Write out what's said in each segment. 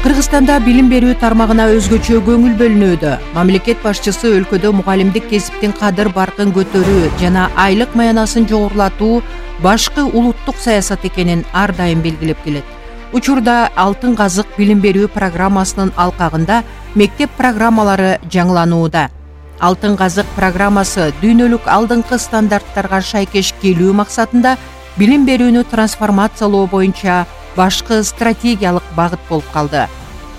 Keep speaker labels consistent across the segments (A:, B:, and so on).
A: Кыргызстанда билим берүү тармагына өзгөчө көңүл бөлүнүүдө. Мамлекет башчысы өлкөдө мугалимдик кесиптин кадыр баркын көтөрүү жана айлык маянасын жогорулатуу башкы улуттук саясат экенин ар дайым белгилеп келет. Учурда Алтын казык билим берүү программасынын алкагында мектеп программалары жаңыланууда. Алтын казык программасы дүйнөлүк алдыңкы стандарттарга шайкеш келүү максатында билим берүүнү трансформациялоо боюнча башкы стратегиялык багыт болуп калды.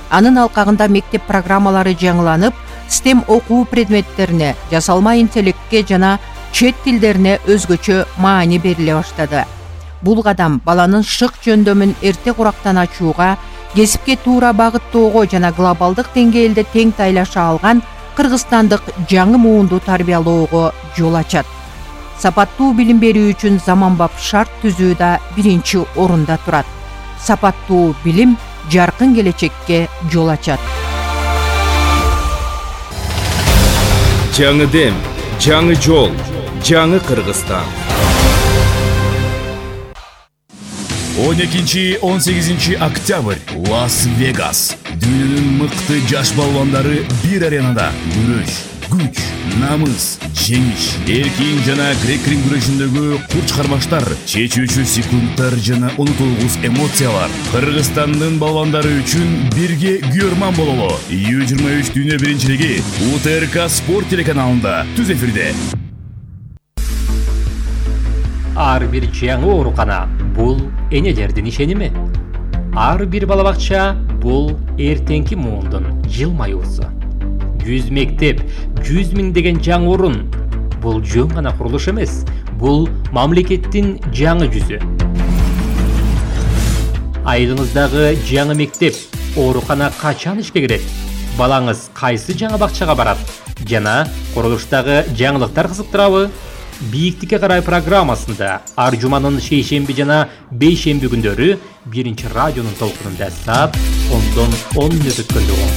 A: Анын алкагында мектеп программалары жаңыланып, STEM окуу предметтерине, жасалма интеллектке жана чет тилдерине өзгөчө маани бериле баштады. Бул кадам баланын шык жөндөмүн эрте курактан ачууга, кесипке туура багыттоого жана глобалдык деңгээлде тең тайлаша алган кыргызстандык жаңы муунду тарбиялоого жол ачат. Сапаттуу билим берүү үчүн заманбап шарт түзүү да биринчи орунда турат. Сапаттуу билим жаркын келечекке жол ачат.
B: Жаңы дем, жаңы жол, жаңы Кыргызстан. 12-18 октябрь Лас-Вегас. Дүйнөнүн мыкты жаш балбандары бир аренада күрөш, күч, намыс, жеңиш, эркин жана грек-рим күрөшүндөгү курч кармаштар, чечүүчү секундтар жана унутулгус эмоциялар. Кыргызстандын балбандары үчүн бирге күйөрман бололу. U23 дүйнө биринчилиги УТРК спорт телеканалында түз эфирде.
C: Ар бир жаңы оорукана бул энелердин ишеними. Ар бир балабакча бул эртеңки муундун жылмаюусу. 100 мектеп, 100 миңдеген жаңы орун. Бул жөн гана курулуш эмес, бул мамлекеттин жаңы жүзү. Айылыңыздагы жаңы мектеп, оорукана качан ишке кирет? Балаңыз кайсы жаңы бакчага барат? Жана курулуштагы жаңылыктар кызыктырабы? Бийиктикке карай программасында ар жуманын шейшемби жана бейшемби күндөрү биринчи радионун толкунунда саат 10 мүнөт өткөндө болот.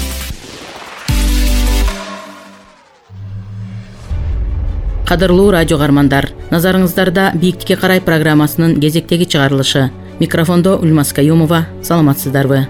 D: Кадырлуу радио кармандар, назарыңыздарда Бийиктикке карай программасынын кезектеги чыгарылышы. Микрофондо Ульмас Каюмова, саламатсыздарбы?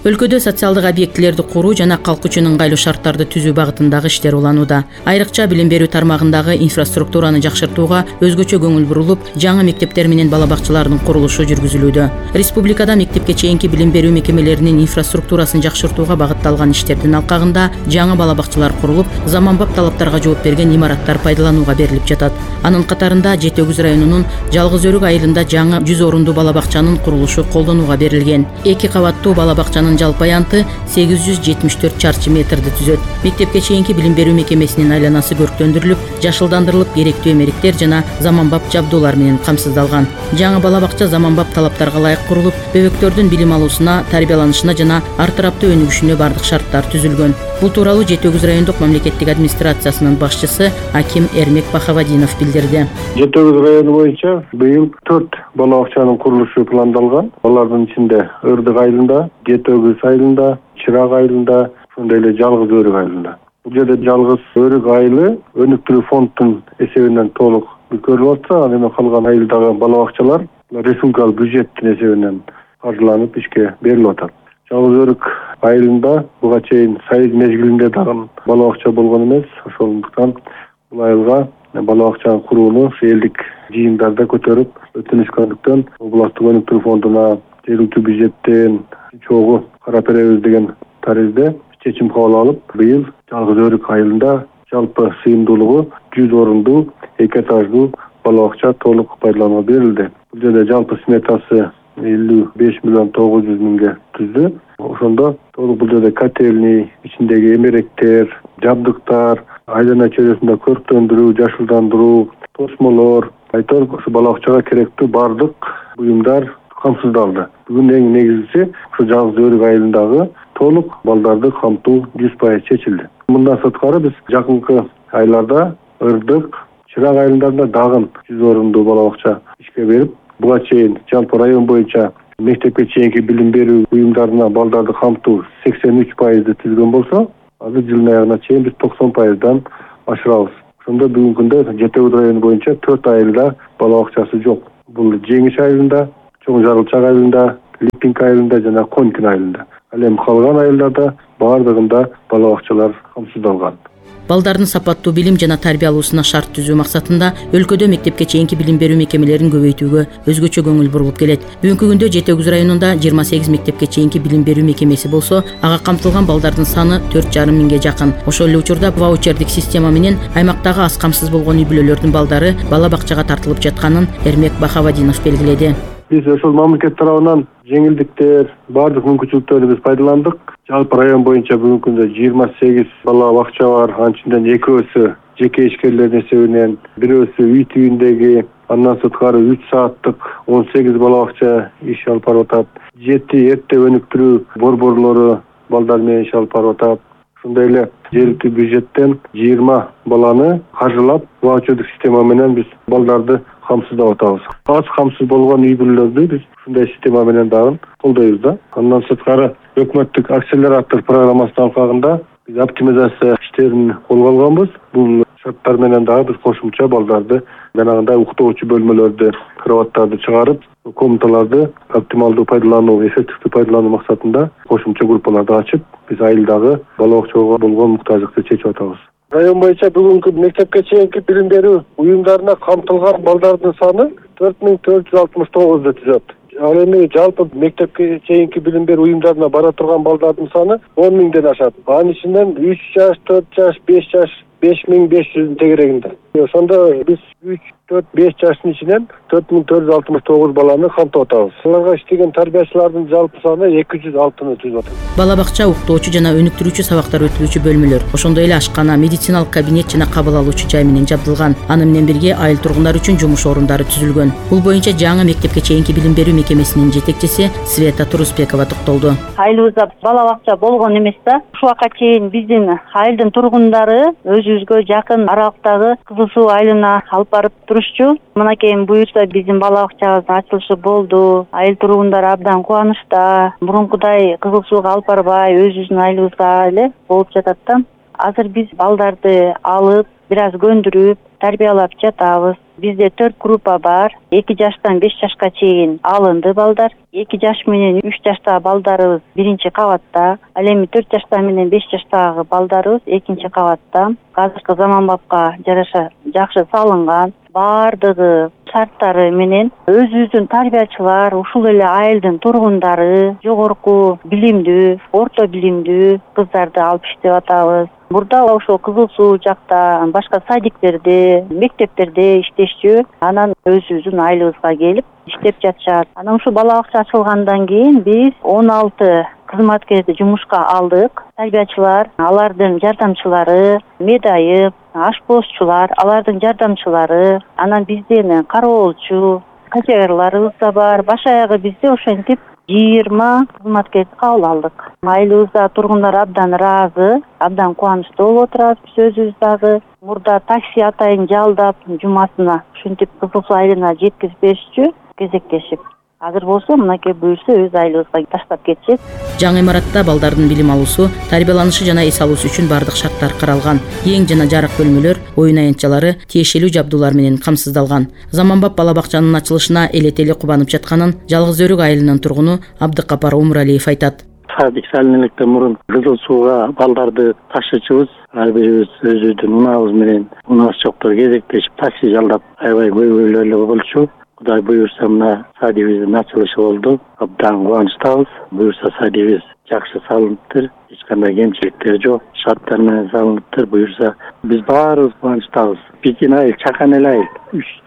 D: Өлкөдө социалдык объектилерди куруу жана калк үчүн ыңгайлуу шарттарды түзүү багытындагы иштер уланууда. Айрыкча билим берүү тармагындагы инфраструктураны жакшыртууга өзгөчө көңүл бурулуп, жаңы мектептер менен балабакчалардын курулушу жүргүзүлүүдө. Республикада мектепке чейинки билим берүү мекемелеринин инфраструктурасын жакшыртууга багытталган иштердин алкагында жаңы балабакчалар курулуп, заманбап талаптарга жооп берген имараттар пайдаланууга берилип жатат. Анын катарында Жети Өгүз районунун Жалгыз Өрүк айылында жаңы 100 орундуу балабакчанын курулушу колдонууга берилген. 2 кабаттуу балабакчанын жалпы аянты 874 чарчы метрди түзөт. Мектепке чейинки билим берүү мекемесинин айланасы көрктөндүрүлүп, жашылдандырылып, керектүү эмеректер жана заманбап жабдуулар менен камсыздалган. Жаңы балабакча заманбап талаптарга ылайык курулуп, бөбөктөрдүн билим алуусуна, тарбияланышына жана ар тараптуу өнүгүшүнө бардык шарттар түзүлгөн. Бул тууралуу Жети Өгүз райондук мамлекеттик администрациясынын башчысы Аким Эрмек Бахавадинов билдирди.
E: Жети Өгүз району боюнча быйыл 4 балабакчанын курулушу пландалган. Алардын ичинде Өрдүк айылында, Жети Өгүз айылында, Чырак айылында, ошондой эле Жалгыз Өрүк айылында. Бул жерде Жалгыз Өрүк айылы өнүктүрүү фондунун эсебинен толук көрүлүп атса, ал эми калган айылдагы балабакчалар республикалык бюджеттин эсебинен каржыланып ишке берилип атат. Жалгыз Өрүк айылында буга чейин сайыз мезгилинде дагы балабакча болгон эмес. Ошондуктан бул айылга балабакчаны курууну элдик жыйындарда көтөрүп өтүнүшкөндүктөн областтык өнүктүрүү фондуна жергиликтүү бюджеттен чогуу карап беребиз деген таризде чечим кабыл алып, быйыл Жалгыз Өрүк айылында жалпы сыйымдуулугу 100 орундуу 2 этаждуу балабакча толук пайдаланууга берилди. Бул жерде жалпы сметасы 55 миллион 900 миңге түздү. Ошондо толук бул жерде котельный, ичиндеги эмеректер, жабдыктар, айлана чөйрөсүндө көрктөндүрүү, жашылдандыруу, тосмолор, айтор ушу балабакчага керектүү бардык буюмдар камсыздалды. Бүгүн эң негизгиси ушу Жалгыз Өрүк айылындагы толук балдарды камтуу 100% чечилди. Мындан сырткары биз жакынкы айларда Өрдүк, Чырак айылдарында дагы 100 орундуу балабакча ишке берип, буга чейин жалпы район боюнча мектепке чейинки билим берүү буюмдарына балдарды камтуу 83% түзгөн болсо, азыр жылдын аягына чейин биз 90%дан ашырабыз. Ошондо бүгүнкү күндө Жети Өгүз району боюнча 4 айылда балабакчасы жок. Бул Жеңиш айылында, Чоң Жарылчак айылында, Липинг айылында жана Конькин айылында. Ал эми калган айылдарда баардыгында бала бакчалар камсыздалган.
D: Балдардын сапаттуу билим жана тарбия алуусуна шарт түзүү максатында өлкөдө мектепке чейинки билим берүү мекемелерин көбөйтүүгө өзгөчө көңүл бурулуп келет. Бүгүнкү күндө Жети Өгүз районунда 28 мектепке чейинки билим берүү мекемеси болсо, ага камтылган балдардын саны 4,5 миңге жакын. Ошол эле учурда ваучердик система менен аймактагы аз камсыз болгон үй бүлөлөрдүн балдары бала бакчага тартылып жатканын Эрмек Бахавадинов белгиледи.
E: Биз ошол мамлекет тарабынан жеңилдиктер, бардык мүмкүнчүлүктөрдү биз пайдаландык. Жалпы район боюнча бүгүнкү күндө 28 бала бакча бар. Анчынден экөөсү жеке ишкерлердин эсебинен, бирөөсү үй түйүндөгү, андан сырткары 3 сааттык 18 бала бакча иш алып барып атат. 7 эрте өнүктүрүү борборлору балдар менен иш алып барып атат. Ошондой эле жергиликтүү бюджеттен 20 баланы каржылап, ваучердик система менен биз балдарды камсыздап атабыз. Аз камсыз болгон үй бүлөлөрдү биз ушундай система менен дагы колдойбуз да. Андан сырткары өкмөттүк акселератор программасынын алкагында биз оптимизация иштерин колго алганбыз. Бул шарттар менен дагы биз кошумча балдарды жанагындай уктоочу бөлмөлөрдү, кроваттарды чыгарып, комнаталарды оптималдуу пайдалануу, эффективдүү пайдалануу максатында кошумча группаларды ачып, биз айылдагы бала бакчага болгон муктаждыкты чечип атабыз. Район боюнча бүгүнкү мектепке чейинки билим берүү уюмдарына камтылган балдардын саны 4469 түзөт. Ал эми жалпы мектепке чейинки билим берүү уюмдарына бара турган балдардын саны 10 миңден ашат. Анын ичинен 3 жаш, 4 жаш, 5 жаш 5500 тегерегинде. Ошондо биз 3, 4, 5 жаштын ичинен 4469 баланы камтып атабыз. Аларга иштеген тарбиячылардын жалпы саны 206-ны түзүп атат.
D: Бала бакча уктоочу жана өнүктүрүүчү сабактар өтүлүүчү бөлмөлөр, ошондой эле ашкана, медициналык кабинет жана кабыл алуучу жай менен жабдылган. Аны менен бирге айыл тургундары үчүн жумуш орундары түзүлгөн. Бул боюнча жаңы мектепке чейинки билим берүү мекемесинин жетекчиси Света Турусбекова токтолду.
F: Айылыбызда бала бакча болгон эмес да. Ушуга чейин биздин айылдын тургундары өзүбүзгө жакын аралыктагы Кызыл Суу айылына алып барып турушчу. Мынакей буюрса биздин бала бакчабыздын ачылышы болду. Айыл тургундары абдан кубанычта. Мурункудай Кызыл Сууга алып барбай, өзүбүздүн айылыбызда эле болуп жатат да. Азыр биз балдарды алып, бир аз көндүрүп, тарбиялап жатабыз. Бизде 4 группа бар. 2 жаштан 5 жашка чейин алынды балдар. 2 жаш менен 3 жаштагы балдарыбыз биринчи кабатта. Ал эми 4 жаштан менен 5 жаштагы балдарыбыз экинчи кабатта. Азыркы заманбапка жараша жакшы салынган. Бардыгы шарттары менен өзүбүздүн тарбиячылар, ушул эле айылдын тургундары, жогорку билимдүү, орто билимдүү кыздарды алып иштеп атабыз. Мурда ошол Кызыл Суу жакта, башка садиктерде, мектептерде иштешчү. Анан өзүбүздүн айылыбызга келип иштеп жатышат. Анан ушул бала бакча ачылгандан кийин биз 16 кызматкерди жумушка алдык. Тарбиячылар, алардын жардамчылары, медайып, ашпозчулар, алардын жардамчылары, анан бизден кароолчу, качегарларыбыз да бар. Баш аягы бизде ошентип 20 кызматкерди кабыл алдык. Айылыбызда тургундар абдан ыраазы, абдан кубанычтуу болуп отурат. Биз өзүбүз дагы мурда такси атайын жалдап, жумасына ушинтип Кызыл Суу айылына жеткиziп беришчү, кезектешип. Азыр болсо мынакей буюрса өз айылыбызга таштап кетишет.
D: Жаңы имаратта балдардын билим алуусу, тарбияланышы жана эс алуусу үчүн бардык шарттар каралган. Эң жана жарык бөлмөлөр, оюн аянтчалары тиешелүү жабдуулар менен камсыздалган. Заманбап бала бакчанын ачылышына элетели кубанып жатканын Жалгыз Өрүк айылынын тургуну Абдыкапар Умуралиев айтат.
G: Садик салынылыктан мурун Кызыл Сууга балдарды ташычыбыз, ар бирибиз өзүбүздүн унаабыз менен унаас жоктор кезектешип такси жалдап аябай көйгөйлүү эле болчу. Кудай буюрса мына садибиздин ачылышы болду. Абдан кубанычтабыз. Буюрса садибиз жакшы салыныптыр. Эч кандай кемчиликтер жок. Шарттар менен салыныптыр. Буюрса биз баарыбыз кубанычтабыз. Биздин айыл чакан эле айыл.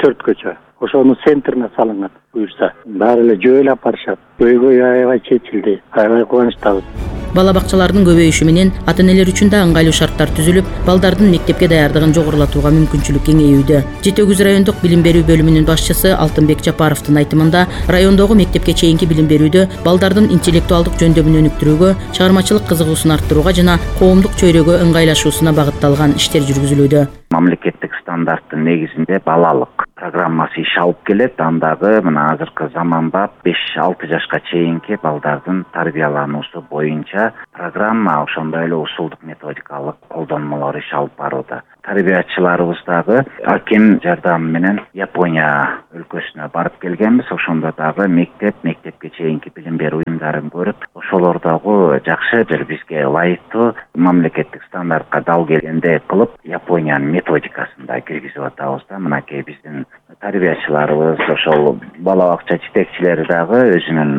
G: 3-4 көчө. Ошонун центрине салынган. Буюрса баары эле жөө эле апарышат. Көйгөй аябай чечилди. Аябай кубанычтабыз.
D: Бала бакчалардын көбөйүшү менен ата-энелер үчүн да ыңгайлуу шарттар түзүлүп, балдардын мектепке даярдыгын жогорулатууга мүмкүнчүлүк кеңейүүдө. Жети Өгүз райондук билим берүү бөлүмүнүн башчысы Алтынбек Жапаровдун айтымында, райондогу мектепке чейинки билим берүүдө балдардын интеллектуалдык жөндөмүн өнүктүрүүгө, чыгармачылык кызыгуусун арттырууга жана коомдук чөйрөгө ыңгайлашуусуна багытталган иштер жүргүзүлүүдө.
H: Мамлекеттик стандарттын негизинде балалык программасы иш алып келет. Андагы мына азыркы заманбап 5-6 жашка чейинки балдардын тарбиялануусу боюнча программа ошондой эле усулдук методикалык колдонмолор иш алып барууда. Тарбиячыларыбыз дагы аким жардамы менен Япония өлкөсүнө барып келгенбиз. Ошондо дагы мектепке чейинки билим берүү уюмдарын көрүп, ошолордогу жакшы бир бизге ылайыктуу мамлекеттик стандартка дал келгендей кылып Япониянын методикасын да киргизип атабыз да. Мынакей биздин тарбиячыларыбыз, ошол бала бакча жетекчилери дагы өзүнүн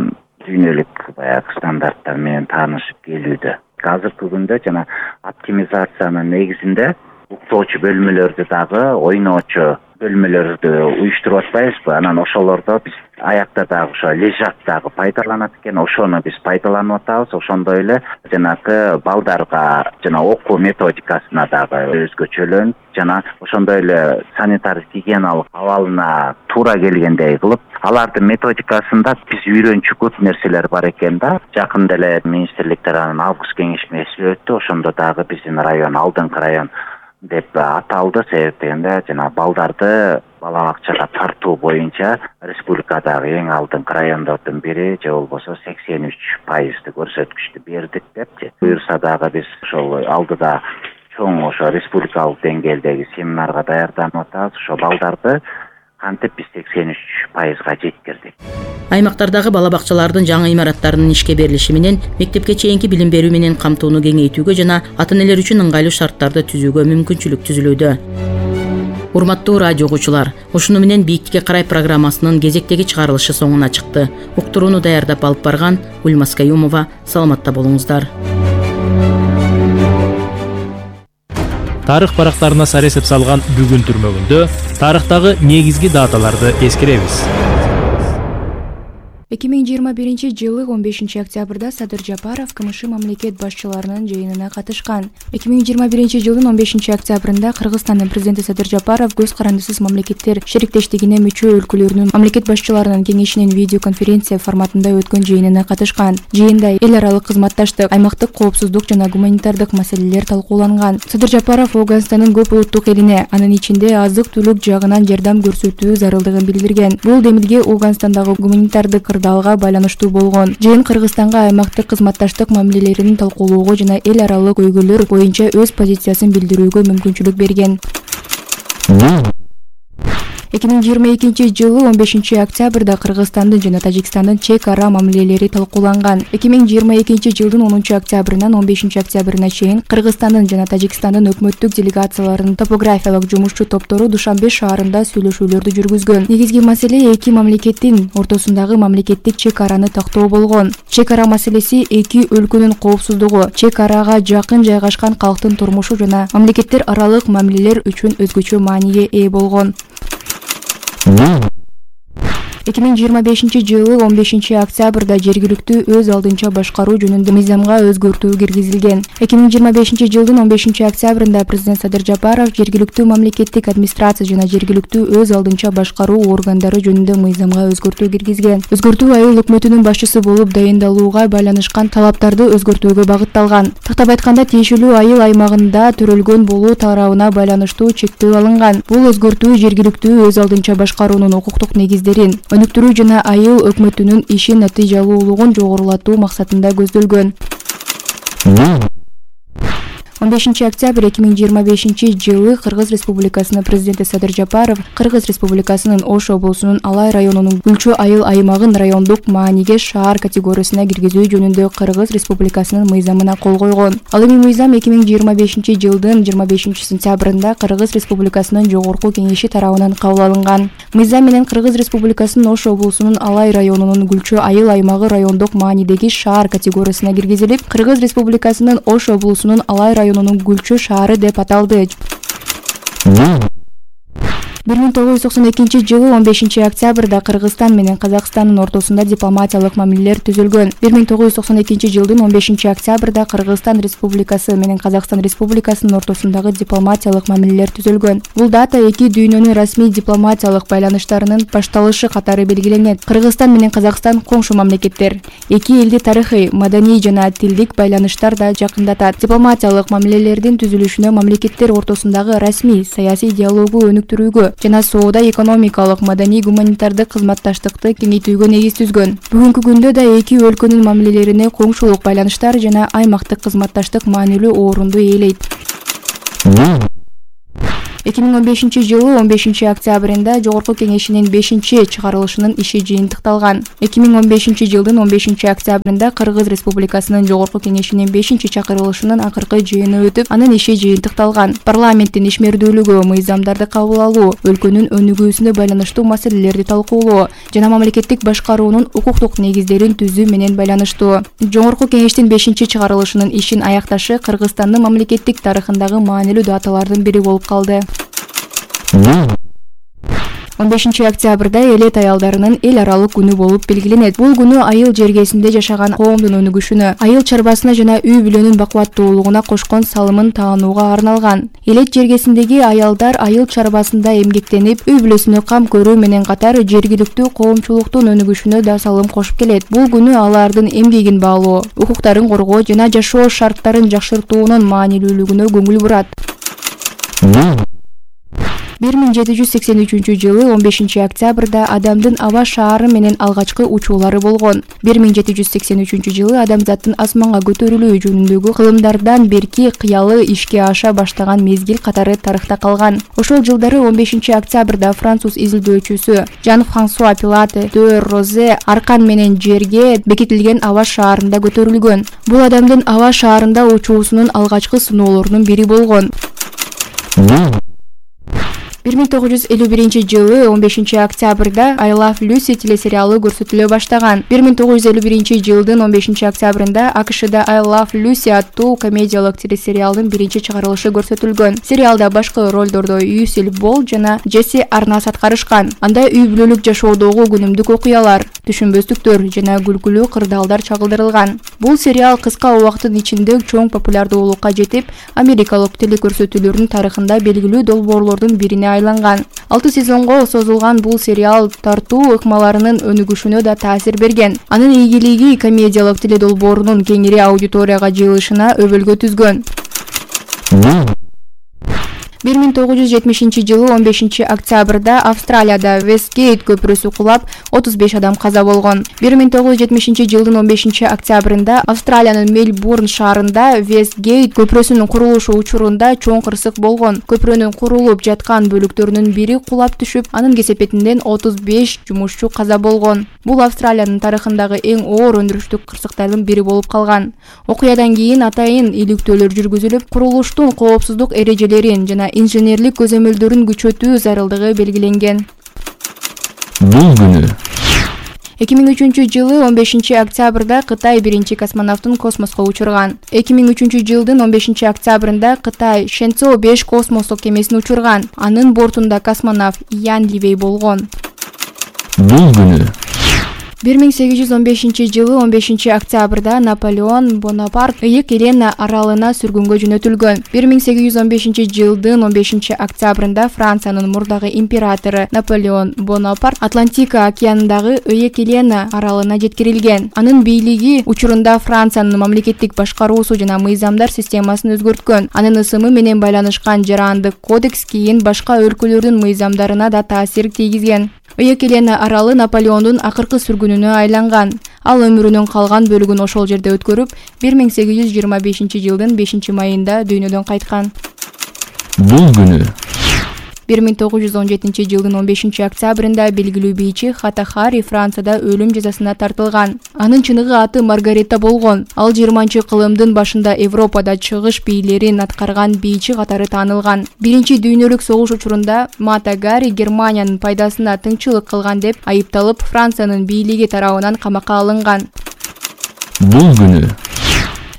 H: дүйнөлүк баягы стандарттар менен таанышып келүүдө. Азыркы күндө жана оптимизациянын негизинде уктоочу бөлмөлөрдү дагы ойноочу бөлмөлөрдү уюштуруп атпайбызбы? Анан ошолордо биз аякта дагы ошо лежат дагы пайдаланат экен. Ошону биз пайдаланып атабыз. Ошондой эле жанагы балдарга жана окуу методикасына дагы өзгөчөлөнүп, жана ошондой эле санитар гигиеналык абалына туура келгендей кылып, алардын методикасында биз үйрөнчү көп нерселер бар экен да. Жакында эле министрлик тарабынан август кеңешмеси өттү. Ошондо дагы биздин район алдыңкы район деп аталды. Себеп дегенде жана балдарды бала бакчага тартуу боюнча республикадагы эң алдыңкы райондордун бири, же болбосо 83% көрсөткүчтү бердик депчи. Буюрса дагы биз ошол алдыда чоң ошо республикалык деңгээлдеги семинарга даярданып атабыз. Ошо балдарды кантип биз 83%га жеткирдик.
D: Аймактардагы бала бакчалардын жаңы имараттарынын ишке берилиши менен мектепке чейинки билим берүү менен камтууну кеңейтүүгө жана ата-энелер үчүн ыңгайлуу шарттарды түзүүгө мүмкүнчүлүк түзүлүүдө. Урматтуу радио угуучулар, ушуну менен Бийиктикке карай программасынын кезектеги чыгарылышы соңуна чыкты. Уктурууну даярдап алып барган Ульмас Каюмова. Саламатта болуңуздар.
C: Тарых барактарына саресеп салган бүгүн түрмөгүндө тарыхтагы негизги даталарды эскеребиз.
I: 2021-жылы 15 октябрда Садыр Жапаров КМШ мамлекет башчыларынын жыйынына катышкан. 2021-жылдын 15 октябрында Кыргызстандын президенти Садыр Жапаров көз карандысыз мамлекеттер шериктештигине мүчө өлкөлөрүнүн мамлекет башчыларынын кеңешинин видеоконференция форматында өткөн жыйынына катышкан. Жыйында эл аралык кызматташтык, аймактык коопсуздук жана гуманитардык маселелер талкууланган. Садыр Жапаров Ооганстандын көп улуттук элине, анын ичинде азык-түлүк жагынан жардам көрсөтүү зарылдыгын билдирген. Бул демилге Ооганстандагы гуманитардык кырдаалга байланыштуу болгон. Жыйын Кыргызстанга аймактык кызматташтык мамилелерин талкуулоого жана эл аралык өйгөлөр боюнча өз позициясын билдирүүгө мүмкүнчүлүк берген. 2022-жылы 15 октябрда Кыргызстандын жана Тажикстандын чек ара мамилелери талкууланган. 2022-жылдын 10 октябрынан 15 октябрына чейин Кыргызстандын жана Тажикстандын өкмөттүк делегацияларынын топографиялык жумушчу топтору Душанбе шаарында сүйлөшүүлөрдү жүргүзгөн. Негизги маселе эки мамлекеттин ортосундагы мамлекеттик чек араны тактоо болгон. Чек ара маселеси эки өлкөнүн коопсуздугу, чек арага жакын жайгашкан калктын турмушу жана мамлекеттер аралык мамилелер үчүн өзгөчө мааниге ээ болгон. 2025-жылы 15 октябрда жергиликтүү өз алдынча башкаруу жөнүндө мыйзамга өзгөртүү киргизилген. 2025-жылдын 15 октябрында президент Садыр Жапаров жергиликтүү мамлекеттик администрация жана жергиликтүү өз алдынча башкаруу органдары жөнүндө мыйзамга өзгөртүү киргизген. Өзгөртүү айыл өкмөтүнүн башчысы болуп дайындалууга байланышкан талаптарды өзгөртүүгө багытталган. Тактап айтканда, тиешелүү айыл аймагында төрөлгөн болуу тарабына байланыштуу чектөө алынган. Бул өзгөртүү жергиликтүү өз алдынча башкаруунун укуктук негиздерин өнүктүрүү жана айыл өкмөтүнүн ишин натыйжалуулугун жогорулатуу максатында көздөлгөн. 15 октябрь 2025 Кыргыз Республикасынын президенти Садыр Жапаров Кыргыз Республикасынын Ош облусунун Алай районунун Гүлчө айыл аймагын райондук мааниге шаар категориясына киргизүү жөнүндө Кыргыз Республикасынын мыйзамына кол койгон. Ал эми мыйзам 2025 жылдын 25 сентябрында Кыргыз Республикасынын жогорку кеңеши тарабынан кабыл алынган. Мыйзам менен Кыргыз Республикасынын Ош облусунун Алай районунун Гүлчө айыл аймагы райондук маанидеги шаар категориясына киргизилип, Кыргыз Республикасынын Ош облусунун Алай районунун Гүлчө шаары деп аталды. 1992 жылы 15 октябрда Кыргызстан менен Казакстандын ортосунда дипломатиялык мамилелер түзүлгөн. 1992 жылдын 15 октябрда Кыргызстан Республикасы менен Казакстан Республикасынын ортосундагы дипломатиялык мамилелер түзүлгөн. Бул дата эки дүйнөнүн расмий дипломатиялык байланыштарынын башталышы катары белгиленет. Кыргызстан менен Казакстан коңшу мамлекеттер. Эки элди тарыхый, маданий жана тилдик байланыштар да жакындатат. Дипломатиялык мамилелердин түзүлүшүнө мамлекеттер ортосундагы расмий саясий диалогу өнүктүрүүгө жана соода экономикалык, маданий, гуманитардык кызматташтыкты кеңейтүүгө негиз түзгөн. Бүгүнкү күндө да эки өлкөнүн мамилелерине коңшулук байланыштар жана аймактык кызматташтык маанилүү орунду ээлейт. 2015-жылы 15-октябрында Жогорку кеңешинин 5-чыгарылышынын иши жыйынтыкталган. 2015-жылдын 15-октябрында Кыргыз Республикасынын Жогорку кеңешинин 5-чакырылышынын акыркы жыйыны өтүп, анын иши жыйынтыкталган. Парламенттин ишмердүүлүгү, мыйзамдарды кабыл алуу, өлкөнүн өнүгүүсүнө байланыштуу маселелерди талкуулоо жана мамлекеттик башкаруунун укуктук негиздерин түзүү менен байланыштуу. Жогорку кеңештин 5-чыгарылышынын ишин аякташы Кыргызстандын мамлекеттик тарыхындагы маанилүү даталардын бири болуп калды. 15-октябрда элет аялдарынын эл аралык күнү болуп белгиленет. Бул күнү айыл жергесинде жашаган коомдун өнүгүшүнө, айыл чарбасына жана үй бүлөнүн бакубаттуулугуна кошкон салымын таанууга арналган. Элет жергесиндеги аялдар айыл чарбасында эмгектенип, үй бүлөсүнө кам көрүү менен катар жергиликтүү коомчулуктун өнүгүшүнө да салым кошуп келет. Бул күнү алардын эмгегин баалоо, укуктарын коргоо жана жашоо шарттарын жакшыртуунун маанилүүлүгүнө көңүл бурат. 1783-жылы 15-октябрда Адамдын аба шаары менен алгачкы учуулары болгон. 1783-жылы адамзаттын асманга көтөрүлүү жөнүндөгү кылымдардан берки кыялы ишке аша баштаган мезгил катары тарыхта калган. Ошол жылдары 15-октябрда француз изилдөөчүсү Жан-Франсуа Пилате де Розе аркан менен жерге бекитилген аба шаарында көтөрүлгөн. Бул Адамдын аба шаарында учуусунун алгачкы сыноолорунун бири болгон. 1951-жылы 15-октябрда I Love Lucy телесериалы көрсөтүлө баштаган. 1951-жылдын 15-октябрында АКШда I Love Lucy аттуу комедиялык телесериалдын биринчи чыгарылышы көрсөтүлгөн. Сериалда башкы ролдордо Юсил Бол жана Джесси Арнас аткарышкан. Анда үй бүлөлүк жашоодогу күнүмдүк окуялар, түшүнбөстүктөр жана күлкүлүү кырдаалдар чагылдырылган. Бул сериал кыска убакыттын ичинде чоң популярдуулукка жетип, америкалык телекөрсөтүүлөрдүн тарыхында белгилүү долбоорлордун бирине айланган. 6 сезонго созулган бул сериал тартуу ыкмаларынын өнүгүшүнө да таасир берген. Анын ийгилиги комедиялык теледолбоорунун кеңири аудиторияга жыйылышына өбөлгө түзгөн. 1970-жылы 15-октябрда Австралияда Вестгейт көпүрөсү кулап, 35 адам каза болгон. 1970-жылдын 15-октябрында Австралиянын Мельбурн шаарында Вестгейт көпүрөсүнүн курулушу учурунда чоң кырсык болгон. Көпүрөнүн курулуп жаткан бөлүктөрүнүн бири кулап түшүп, анын кесепетинен 35 жумушчу каза болгон. Бул Австралиянын тарыхындагы эң оор өндүрүштүк кырсыктардын бири болуп калган. Окуядан кийин атайын иликтөөлөр жүргүзүлүп, курулуштун коопсуздук эрежелерин жана инженерлик көзөмөлдөрүн күчөтүү зарылдыгы белгиленген.
B: Бул күнү
I: 2003-жылы 15-октябрда Кытай биринчи космонавтын космоско учурган. 2003-жылдын 15-октябрында Кытай Шэньцзоу 5 космостук кемесин учурган. Анын бортунда космонавт Ян Ливей болгон.
B: Бул күнү
I: 1815-жылы 15-октябрда Наполеон Бонапарт Ыйык Елена аралына сүргүнгө жөнөтүлгөн. 1815-жылдын 15-октябрында Франциянын мурдагы императору Наполеон Бонапарт Атлантика океанындагы Ыйык Елена аралына жеткирилген. Анын бийлиги учурунда Франциянын мамлекеттик башкаруусу жана мыйзамдар системасын өзгөрткөн. Анын ысымы менен байланышкан жарандык кодекс кийин башка өлкөлөрдүн мыйзамдарына да таасир тийгизген. Ыйык Елена аралы Наполеондун акыркы сүргүнүнө айланган. Ал өмүрүнүн калган бөлүгүн ошол жерде өткөрүп, 1825-жылдын 5-майында дүйнөдөн кайткан.
B: Бул күнү
I: 1917-жылдын 15-октябрында белгилүү бийчи Хата Хари Францияда өлүм жазасына тартылган. Анын чыныгы аты Маргарита болгон. Ал 20-кылымдын башында Европада чыгыш бийлерин аткарган бийчи катары таанылган. Биринчи дүйнөлүк согуш учурунда Мата Гари Германиянын пайдасына тыңчылык кылган деп айыпталып, Франциянын бийлиги тарабынан камакка алынган.
B: Бул күнү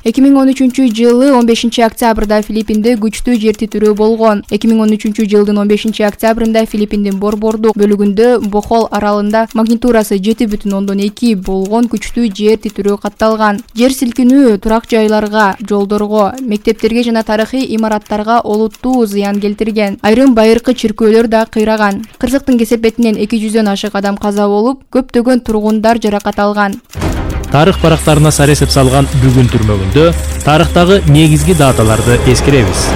I: 2013-жылы 15-октябрда Филиппинде күчтүү жер титирөө болгон. 2013-жылдын 15-октябрында Филиппиндин борбордук бөлүгүндө Бохол аралында магнитурасы 7,2 болгон күчтүү жер титирөө катталган. Жер силкинүү турак жайларга, жолдорго, мектептерге жана тарыхый имараттарга олуттуу зыян келтирген. Айрым байыркы чиркөөлөр да кыйраган. Кырсыктын кесепетинен 200дөн ашык адам каза болуп, көптөгөн тургундар жаракат алган.
C: Тарых барактарына саресеп салган бүгүн түрмөгүндө тарыхтагы негизги даталарды эскеребиз.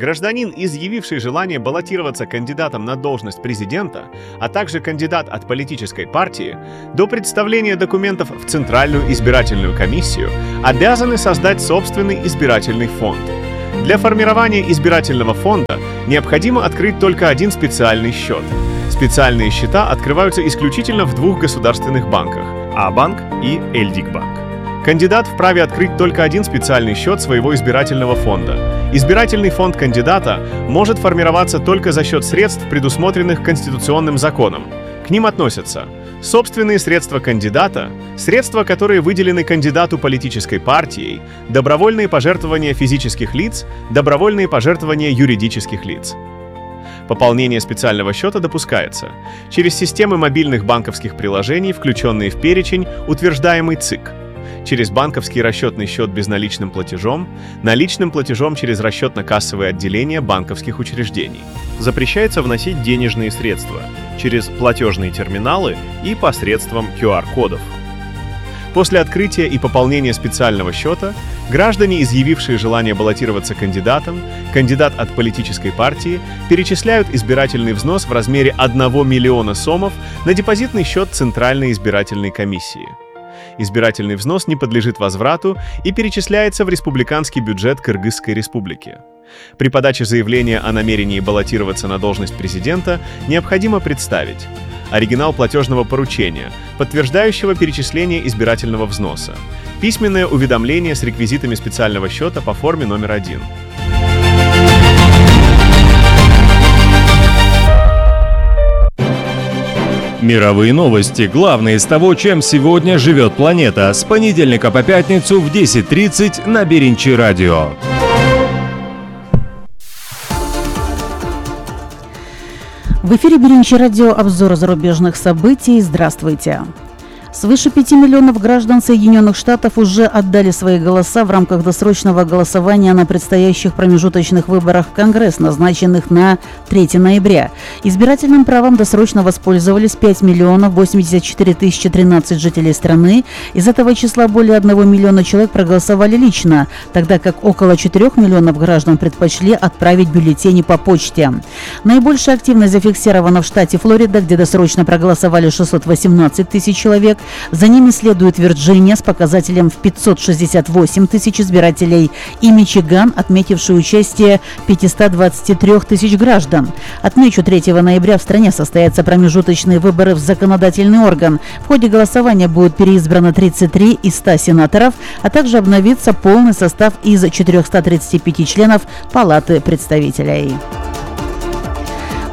J: Гражданин, изъявивший желание баллотироваться кандидатом на должность президента, а также кандидат от политической партии, до представления документов в Центральную избирательную комиссию обязаны создать собственный избирательный фонд. Для формирования избирательного фонда необходимо открыть только один специальный счет. Специальные счета открываются исключительно в двух государственных банках – А-банк и Эльдикбанк. Кандидат вправе открыть только один специальный счет своего избирательного фонда. Избирательный фонд кандидата может формироваться только за счет средств, предусмотренных Конституционным законом. К ним относятся собственные средства кандидата, средства, которые выделены кандидату политической партией, добровольные пожертвования физических лиц, добровольные пожертвования юридических лиц. Пополнение специального счета допускается через системы мобильных банковских приложений, включенные в перечень, утверждаемый ЦИК, через банковский расчетный счет безналичным платежом, наличным платежом через расчетно-кассовые отделения банковских учреждений.
K: Запрещается вносить денежные средства через платежные терминалы и посредством QR-кодов.
J: После открытия и пополнения специального счета граждане, изъявившие желание баллотироваться кандидатом, кандидат от политической партии, перечисляют избирательный взнос в размере 1 миллиона сомов на депозитный счет Центральной избирательной комиссии. Избирательный взнос не подлежит возврату и перечисляется в республиканский бюджет Кыргызской республики. При подаче заявления о намерении баллотироваться на должность президента необходимо представить оригинал платежного поручения, подтверждающего перечисление избирательного взноса, письменное уведомление с реквизитами специального счета по форме номер 1.
L: Мировые новости. Главное из того, чем сегодня живет планета. С понедельника по пятницу в 10:30 на Беринчи радио.
M: В эфире Беринчи радио, обзор зарубежных событий. Здравствуйте. Свыше 5 миллионов граждан Соединенных Штатов уже отдали свои голоса в рамках досрочного голосования на предстоящих промежуточных выборах в Конгресс, назначенных на 3 ноября. Избирательным правом досрочно воспользовались 5 миллионов 84 тысячи 13 жителей страны. Из этого числа более 1 миллиона человек проголосовали лично, тогда как около 4 миллионов граждан предпочли отправить бюллетени по почте. Наибольшая активность зафиксирована в штате Флорида, где досрочно проголосовали 618 тысяч человек. За ними следует Вирджиния с показателем в 568 тысяч избирателей и Мичиган, отметивший участие 523 тысяч граждан. Отмечу, 3 ноября в стране состоятся промежуточные выборы в законодательный орган. В ходе голосования будет переизбрано 33 из 100 сенаторов, а также обновится полный состав из 435 членов Палаты представителей.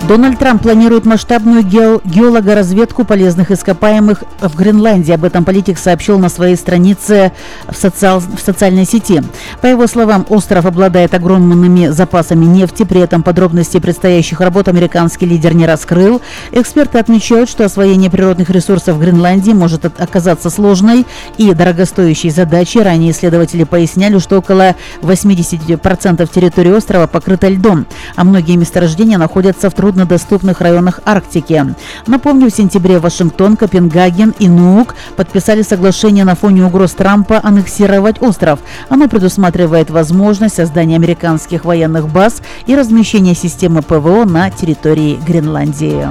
M: Дональд Трамп планирует масштабную геологоразведку полезных ископаемых в Гренландии. Об этом политик сообщил на своей странице в социальной сети. По его словам, остров обладает огромными запасами нефти, при этом подробности предстоящих работ американский лидер не раскрыл. Эксперты отмечают, что освоение природных ресурсов в Гренландии может оказаться сложной и дорогостоящей задачей. Ранее исследователи поясняли, что около 80% территории острова покрыто льдом, а многие месторождения находятся в труднодоступных районах Арктики. Напомню, в сентябре Вашингтон, Копенгаген и Нуук подписали соглашение на фоне угроз Трампа аннексировать остров. Оно предусматривает возможность создания американских военных баз и размещения системы ПВО на территории Гренландии.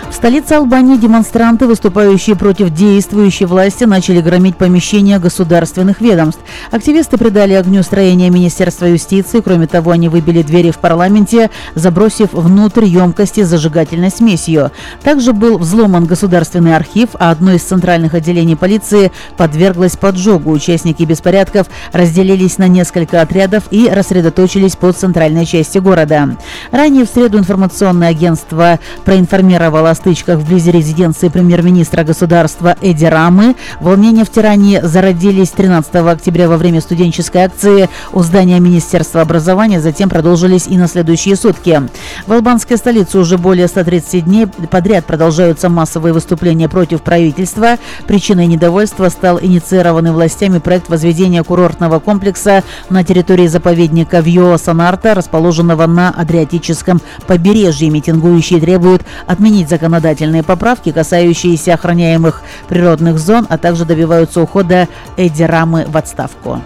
M: В столице Албании демонстранты, выступающие против действующей власти, начали громить помещения государственных ведомств. Активисты придали огню строение Министерства юстиции. Кроме того, они выбили двери в парламенте, забросив внутрь емкости с зажигательной смесью. Также был взломан государственный архив, а одно из центральных отделений полиции подверглось поджогу. Участники беспорядков разделились на несколько отрядов и рассредоточились по центральной части города. Ранее в среду информационное агентство проинформировало о стычках вблизи резиденции премьер-министра государства Эди Рамы. Волнения в Тиране зародились 13 октября во время студенческой акции у здания Министерства образования, затем продолжились и на следующие сутки. В албанской столице уже более 130 дней подряд продолжаются массовые выступления против правительства. Причиной недовольства стал инициированный властями проект возведения курортного комплекса на территории заповедника Виола-Санарта, расположенного на Адриатическом побережье. Митингующие требуют отменить законодательные поправки, касающиеся охраняемых природных зон, а также добиваются ухода Эди Рамы в отставку.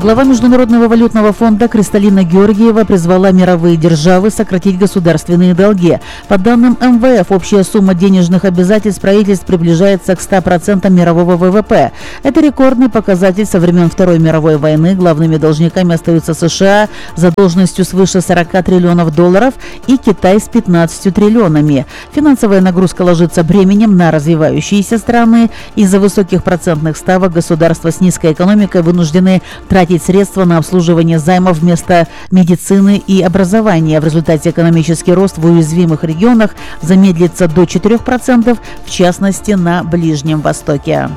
M: Глава Международного валютного фонда Кристалина Георгиева призвала мировые державы сократить государственные долги. По данным МВФ, общая сумма денежных обязательств правительств приближается к 100% мирового ВВП. Это рекордный показатель со времен Второй мировой войны. Главными должниками остаются США с задолженностью свыше 40 триллионов долларов и Китай с 15 триллионами. Финансовая нагрузка ложится бременем на развивающиеся страны. Из-за высоких процентных ставок государства с низкой экономикой вынуждены тратить средства на обслуживание займов вместо медицины и образования. В результате экономический рост в уязвимых регионах замедлится до 4%, в частности на Ближнем Востоке.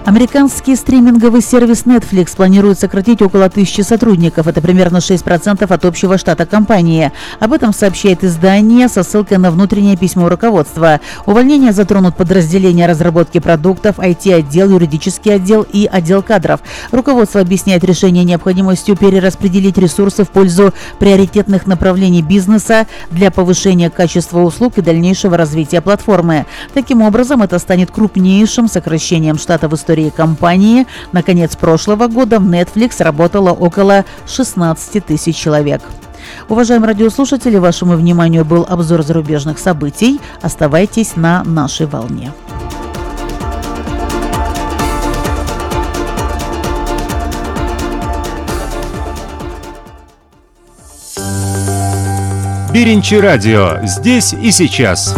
M: Американский стриминговый сервис Netflix планирует сократить около 1000 сотрудников. Это примерно 6% от общего штата компании. Об этом сообщает издание со ссылкой на внутреннее письмо руководства. Увольнения затронут подразделения разработки продуктов, IT-отдел, юридический отдел и отдел кадров. Руководство объясняет решение необходимостью перераспределить ресурсы в пользу приоритетных направлений бизнеса для повышения качества услуг и дальнейшего развития платформы. Таким образом, это станет крупнейшим сокращением штата в истории компании. На конец прошлого года в Netflix работало около 16 тысяч человек. Уважаемые радиослушатели, вашему вниманию был обзор зарубежных событий. Оставайтесь на нашей волне.
L: Биринчи радио. Здесь и сейчас.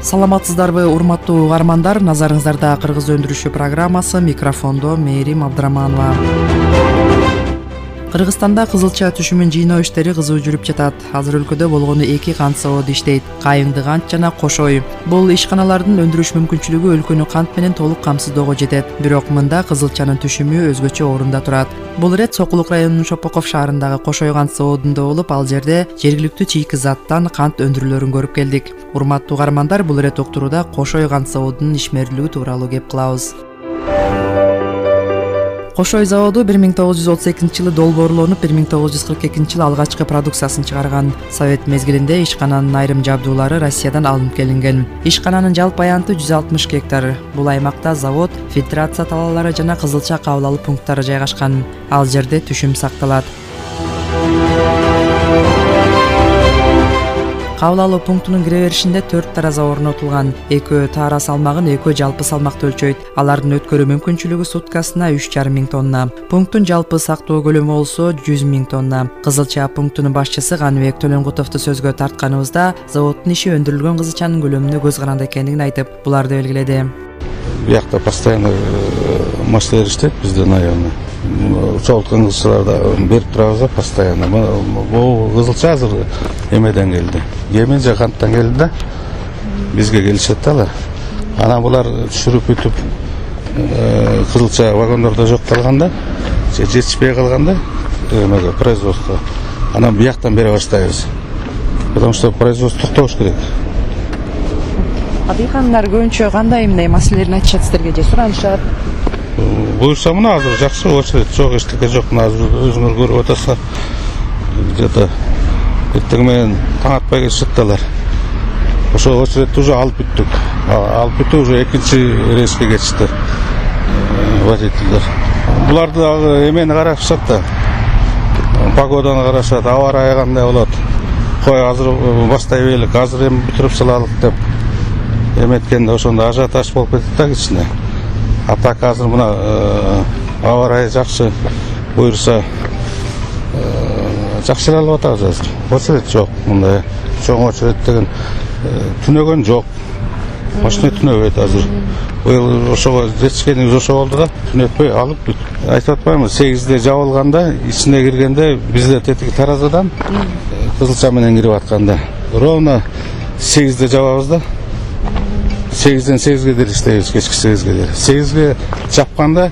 N: Саламатсыздарбы, урматтуу угармандар? Назарыңыздарда Кыргыз өндүрүшү программасы, микрофондо Мээрим Абдыраманова. Кыргызстанда кызылча түшүмүн жыйноо иштери кызуу жүрүп жатат. Азыр өлкөдө болгону 2 кант заводу иштейт: Кайыңды кант жана Кошой. Бул ишканалардын өндүрүш мүмкүнчүлүгү өлкөнү кант менен толук камсыздоого жетет. Бирок мында кызылчанын түшүмү өзгөчө орунда турат. Бул ирет Сокулук районунун Шопоков шаарындагы Кошой кант заводунда болуп, ал жерде жергиликтүү чийки заттан кант өндүрүлөрүн көрүп келдик. Урматтуу угармандар, бул ирет уктурууда Кошой кант заводунун ишмерлиги тууралуу кеп кылабыз. Кошой заводу 1932-жылы долбоорлонуп, 1942-жылы алгачкы продукциясын чыгарган. Совет мезгилинде ишкананын айрым жабдуулары Россиядан алынып келинген. Ишкананын жалпы аянты 160 гектар. Бул аймакта завод, фильтрация талаалары жана кызылча кабыл алуу пункттары жайгашкан. Ал жерде түшүм сакталат. Кабыл алуу пунктунун кире беришинде 4 тараза орнотулган. Экөө таара салмагын, экөө жалпы салмакты өлчөйт. Алардын өткөрүү мүмкүнчүлүгү суткасына 3,5 миң тонна. Пункттун жалпы сактоо көлөмү болсо 100 миң тонна. Кызылча пунктунун башчысы Ганыбек Төлөнгутовду сөзгө тартканыбызда заводдун иши өндүрүлгөн кызылчанын көлөмүнө көз каранды экендигин айтып, буларды белгиледи.
O: Буякта постоянно маштер иштейт бизден аягына. Чогулткан кызылчаларды берип турабыз постоянно. Бул кызылча азыр эмеден келди. Емен же канттан келди да. Бизге келишет да алар. Анан булар түшүрүп бүтүп кызылча вагондордо жок калганда, жетишпей калганда эмеге производство. Анан бияктан бере баштайбыз. Потому что производство токтош керек.
N: Адыйхандар көбүнчө кандай эмне маселелерин айтышат силерге же суранышат?
O: Буюрса мына азыр жакшы очередь жок, эчтеке жок. Мына азыр өзүңөр көрүп атасыңар. Где-то эртең менен таң атпай келишет. Ошо очередти уже алып бүттүк. Алып бүтүп уже экинчи рейске кетишти водительдер. Буларды эмени карашат да. Погоданы карашат, аба ырайы кандай болот. Кой азыр бастай берелик, азыр эми бүтүрүп салалык деп эметкенде ошондо ажиотаж болуп кетти да кичине. А так азыр мына аба ырайы жакшы, буюрса жакшыралып атабыз азыр. Очередь жок, мындай чоң очередь деген түнөгөн жок. Машина түнөбөйт азыр. Быйыл ошого жетишкенибиз ошо болду да, түнөтпөй алып бүт. Айтып атпаймынбы, 8-де жабылганда, ичине киргенде бизде тетиги таразадан кызылча менен кирип атканда. Ровно 8-де жабабыз да. 8-ден 8-ге дейин иштейбиз, кечки 8-ге дейин. 8-ге жапканда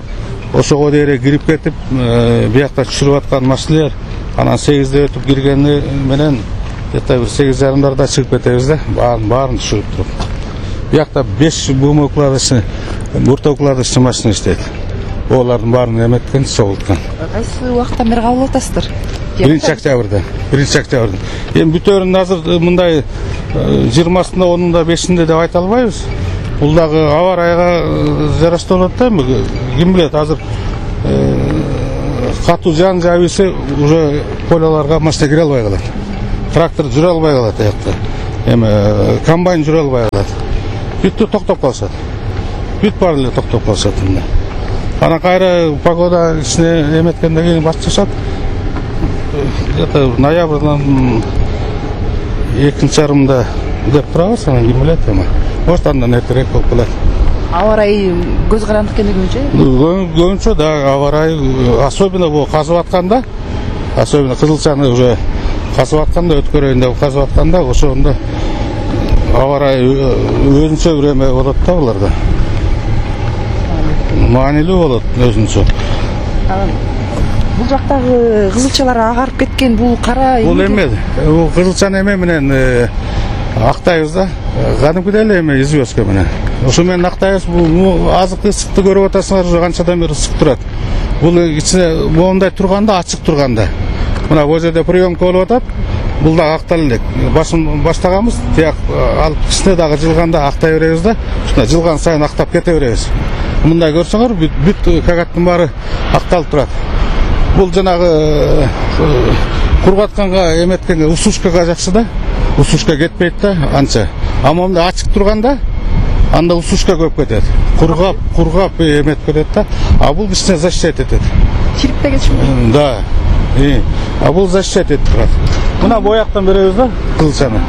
O: ошого дейин кирип кетип, биякта түшүрүп аткан машиналар анан 8-де өтүп киргени менен где-то 8:30 чыгып кетебиз да, баарын түшүрүп туруп. Биякта 5 бумокладышы, буртокладышы машина иштейт. Олардын баарын эметкен, согулткан.
N: Кайсы убакыттан бери кабыл алып атасыздар?
O: октябрда. 1-октябрда. Эми бүтөөрүн азыр мындай 20-сында, 10-да, 5-inde деп айта албайбыз. Бул дагы аба ырайга жараштуу болот да. Ким билет, азыр катуу жан жабыйсы уже поляларга машина кире албай калат. Трактор жүрө албай калат аякта. Эми комбайн жүрө албай калат. Бүттү токтоп калышат. Бүт баары эле токтоп калышат. Анан кайра погода ичине эметкенден кийин башташат. Где-то ноябрдан 2-жарымда деп турабыз, анан ким билет эми. Может, андан эртерээк болуп калат.
P: Аба ырайы көз карандык экендигинче?
O: Көбүнчө да аба ырайы, особенно бул казып атканда, особенно кызылчаны уже казып атканда, өткөрөйүн деп казып атканда, ошондо аба ырайы өзүнчө бир эме болот да буларда. Маанилүү болот өзүнчө.
P: Бул жактагы кызылчалар агарып кеткен, бул кара
O: бул эме, бул кызылчаны эме менен актайбыз да. Кадимкидей эле эме известка менен. Ошо менен актайбыз. Бул азык ысыкты көрүп атасыңар, уже канчадан бери ысык турат. Бул ичине моундай турганда, ачык турганда. Мына бул жерде приемка болуп атат. Бул да актала элек. Баштаганбыз, тияк алып ичине дагы жылганда актай беребиз да. Ушундай жылган сайын актап кете беребиз. Мындай көрсөңөр, бүт кагаттын баары акталып турат. Бул жанагы кургатканга эметкенге усушкага жакшы да. Усушка кетпейт да анча. А монда ачык турганда анда усушка көп кетет. Кургап эмет кетет да. А бул ичине защищать этет.
P: Чирикте кетиши?
O: Да. А бул защищать этип турат. Мына бояктан беребиз да кызылчаны.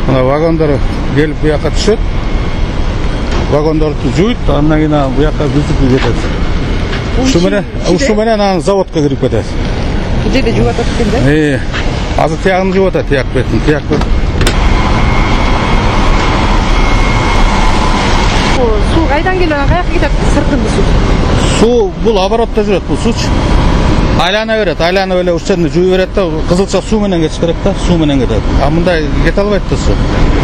O: Мына вагондар келип бу жака түшөт. Вагондорду жуйт, андан кийин бу жака бүзүп кетет. Ушу менен анан заводко кирип кетет.
P: Бул жерде жууп атат экен да?
O: Азыр тиягын жууп атат, тияк бетин, тияк бет.
P: Суу кайдан келип, каяка кетет? Сыртынды суу.
O: Суу бул оборотто жүрөт, бул суучу. Айлана берет, айланып эле ушчаны жууй берет да, кызылча суу менен кетиш керек да, суу менен кетет. А мындай кете албайт да суу.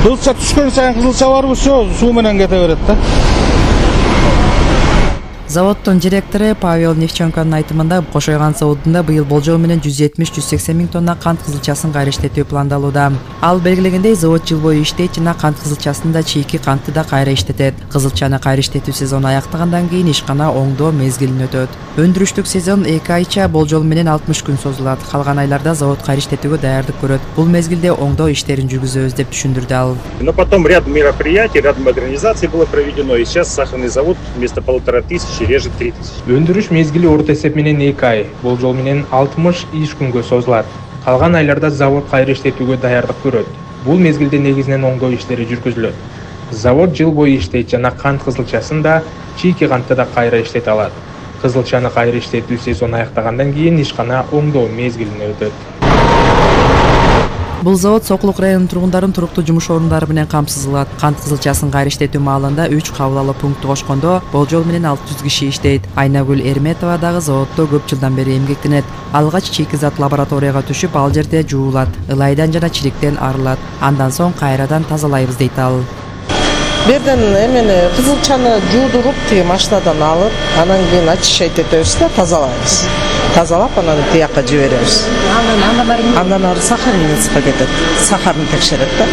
O: Кызылча түшкөн сайын кызылча барбы, суу менен кете берет да.
N: Заводдун директору Павел Невченконун айтымында Кошойган заводунда быйыл болжол менен 170-180 миң тонна кант кызылчасын кайра иштетүү пландалууда. Ал белгилегендей, завод жыл бою иштейт жана кант кызылчасын да чийки кантты да кайра иштетет. Кызылчаны кайра иштетүү сезону аяктагандан кийин ишкана оңдоо мезгилин өтөт. Өндүрүштүк сезон 2 айча болжол менен 60 күн созулат. Калган айларда завод кайра иштетүүгө даярдык көрөт. Бул мезгилде оңдоо иштерин жүргүзөбүз деп түшүндүрдү ал.
Q: Но потом ряд мероприятий, ряд модернизаций было проведено, и сейчас сахарный завод вместо 1500 режет 3000.
R: Өндүрүш мезгили орто эсеп менен 2 ай, болжол менен 60 иш күнгө созулат. Калган айларда завод кайра иштетүүгө даярдык көрөт. Бул мезгилде негизинен оңдоо иштери жүргүзүлөт. Завод жыл бою иштейт жана кант кызылчасын да, чийки кантты да кайра иштете алат. Кызылчаны кайра иштетүү сезону аяктагандан кийин ишкана оңдоо мезгилине өтөт.
N: Бул завод Сокулук районунун тургундарын туруктуу жумуш орундары менен камсыз кылат. Кант кызылчасын кайра иштетүү маалында 3 кабыл алуу пункту кошкондо болжол менен 600 киши иштейт. Айнагүл Эрметова дагы заводдо көп жылдан бери эмгектенет. Алгач чийки зат лабораторияга түшүп, ал жерде жуулат, ылайдан жана чириктен арылат. Андан соң кайрадан тазалайбыз дейт ал.
S: Берден эмени кызылчаны жуудуруп, тиги машинадан алып, анан кийин очищать этебиз да, тазалайбыз. Тазалап, анан тияка жиберебиз. Андан ары сахарницага кетет. Сахарын текшерет да.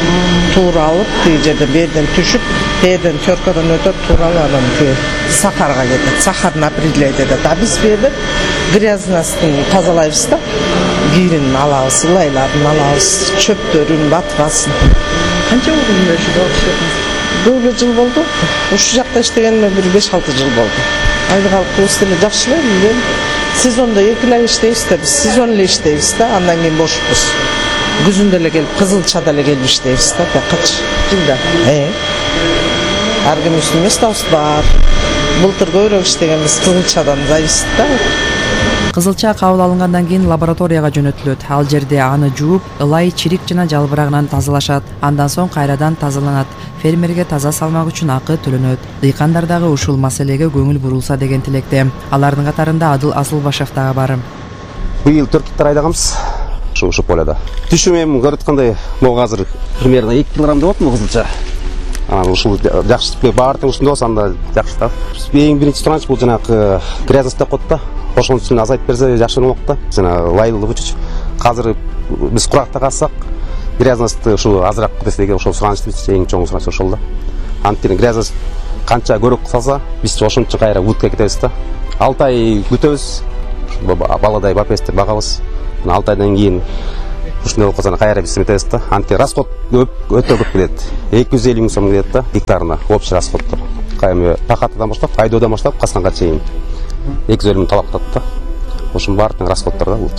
S: Туура алып, тиги жерде берден түшүп, берден теркадан өтөп, туура анан тиги сахарга кетет. Сахарын определять этет. А биз берден грязнысын тазалайбыз да. Кийин алабыз, ылайларын алабыз, чөптөрүн, батпасын.
P: Канча болду ошо иштедиңиз?
S: Көп жыл болду. Ушул жакта иштегениме бир 5-6 жыл болду. Айлык алкыбыз деле жакшы эле. Сезондо 2 ай иштейбиз да, биз сезон эле иштейбиз да, андан кийин бошпуз. Күзүндө эле келип, кызылчада эле келип иштейбиз да, бакачы.
P: Жылда.
S: Ар кимдин местабыз бар. Былтыр көбүрөөк иштегенбиз, кызылчадан зависит да.
N: Кызылча кабыл алынгандан кийин лабораторияга жөнөтүлөт. Ал жерде аны жууп, ылай, чирик жана жалбырагынан тазалашат. Андан соң кайрадан тазаланат. Фермерге таза салмак үчүн акы төлөнөт. Дыйкандар дагы ушул маселеге көңүл бурулса деген тилекте. Алардын катарында Адыл Асылбашев дагы бар.
T: Быйыл 4 гектар айдаганбыз ушу поляда. Түшүм эми көрүп аткандай, могу азыр примерно 2 килограмм деп атам кызылча. Анан ушул жакшы баардык ушунда болсо анда жакшы да. Эң биринчи туранч бул жанагы грязность деп коет да. Ошонун үчүн азайтып берсе жакшы болмок да. Жана лайлуу чүч азыр биз куракта калсак грязностьты ушул азыраак десе деген ошол сураныч эң чоң сураныч ошол да. Анткени грязность канча көрөк салса, биз ошончо кайра утка кетебиз да. 6 ай күтөбүз. Баладай бапестер багабыз. 6 айдан кийин ушундай болуп калса кайра биз метебиз да. Анткени расход өтө көп келет. 250 000 сом келет да гектарына общий расходдор. Кайме пахатадан баштап, айдоодан баштап касганга чейин 250 000 талап кылат да. Ошонун баардыгы расходдор да бул.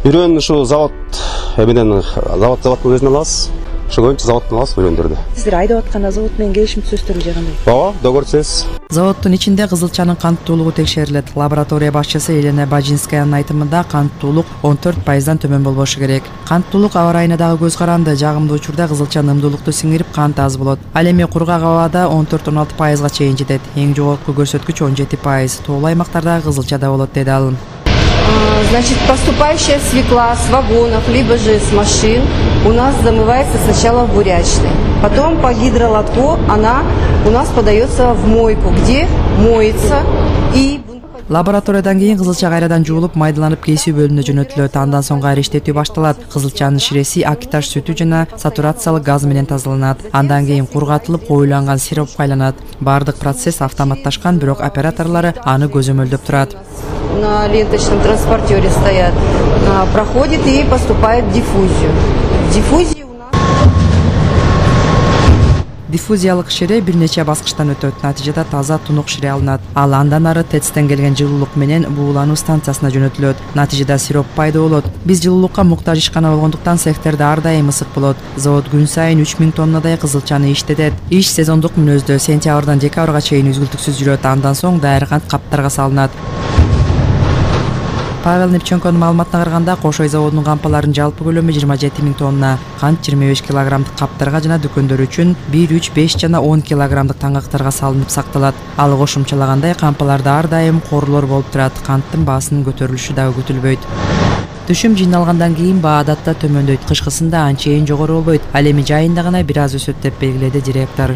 T: Бирөөнү ушу завод менен заводтун өзүнө алабыз. Ошо көбүнчө заводтон алабыз бирөөндөрдү.
U: Сиздер айдап атканда завод менен келишим түзөсүңөр же кандай?
T: Ооба, договор түзөбүз.
N: Заводдун ичинде кызылчанын канттуулугу текшерилет. Лаборатория башчысы Елена Бажинскаянын айтымында канттуулук 14%дан төмөн болбошу керек. Канттуулук аба ырайына дагы көз каранды. Жагымдуу учурда кызылча ымдуулукту сиңирип кант аз болот. Ал эми кургак абада 14-16%га чейин жетет. Эң жогорку көрсөткүч 17%. Тоолуу аймактарда кызылча да болот деди ал.
U: Значит, поступающая свекла с вагонов, либо же с машин у нас замывается сначала в бурячной. Потом по гидролотку она у нас подается в мойку, где моется и...
N: Лабораториядан кийин кызылча кайрадан жуулуп, майдаланып кесүү бөлүмүнө жөнөтүлөт. Андан соң кайра иштетүү башталат. Кызылчанын ширеси акитаж сүтү жана сатурациялык газ менен тазаланат. Андан кийин кургатылып, коюланган сиропко айланат. Баардык процесс автоматташкан, бирок операторлору аны көзөмөлдөп турат.
U: На ленточном транспортере стоят, проходит и поступает в диффузию. В диффузии
N: диффузиялык шире бир нече баскычтан өтөт. Натыйжада таза тунук шире алынат. Ал андан ары ТЭЦтен келген жылуулук менен буулануу станциясына жөнөтүлөт. Натыйжада сироп пайда болот. Биз жылуулукка муктаж ишкана болгондуктан цехтерде ар дайым ысык болот. Завод күн сайын 3000 тоннадай кызылчаны иштетет. Иш сезондук мүнөздө сентябрдан декабрга чейин үзгүлтүксүз жүрөт. Андан соң дайыр кант каптарга салынат. Павел Непченконун маалыматына караганда, Кошой заводунун кампаларынын жалпы көлөмү 27 000 тонна. Кант 25 килограммдык каптарга жана дүкөндөр үчүн 1, 3, 5 жана 10 килограммдык таңактарга салынып сакталат. Ал кошумчалагандай кампаларда ар дайым корлор болуп турат. Канттын баасынын көтөрүлүшү дагы күтүлбөйт. Түшүм жыйналгандан кийин баа адатта төмөндөйт. Кышкысында анчейин жогору болбойт. Ал эми жайында гана бир аз өсөт деп белгиледи директор.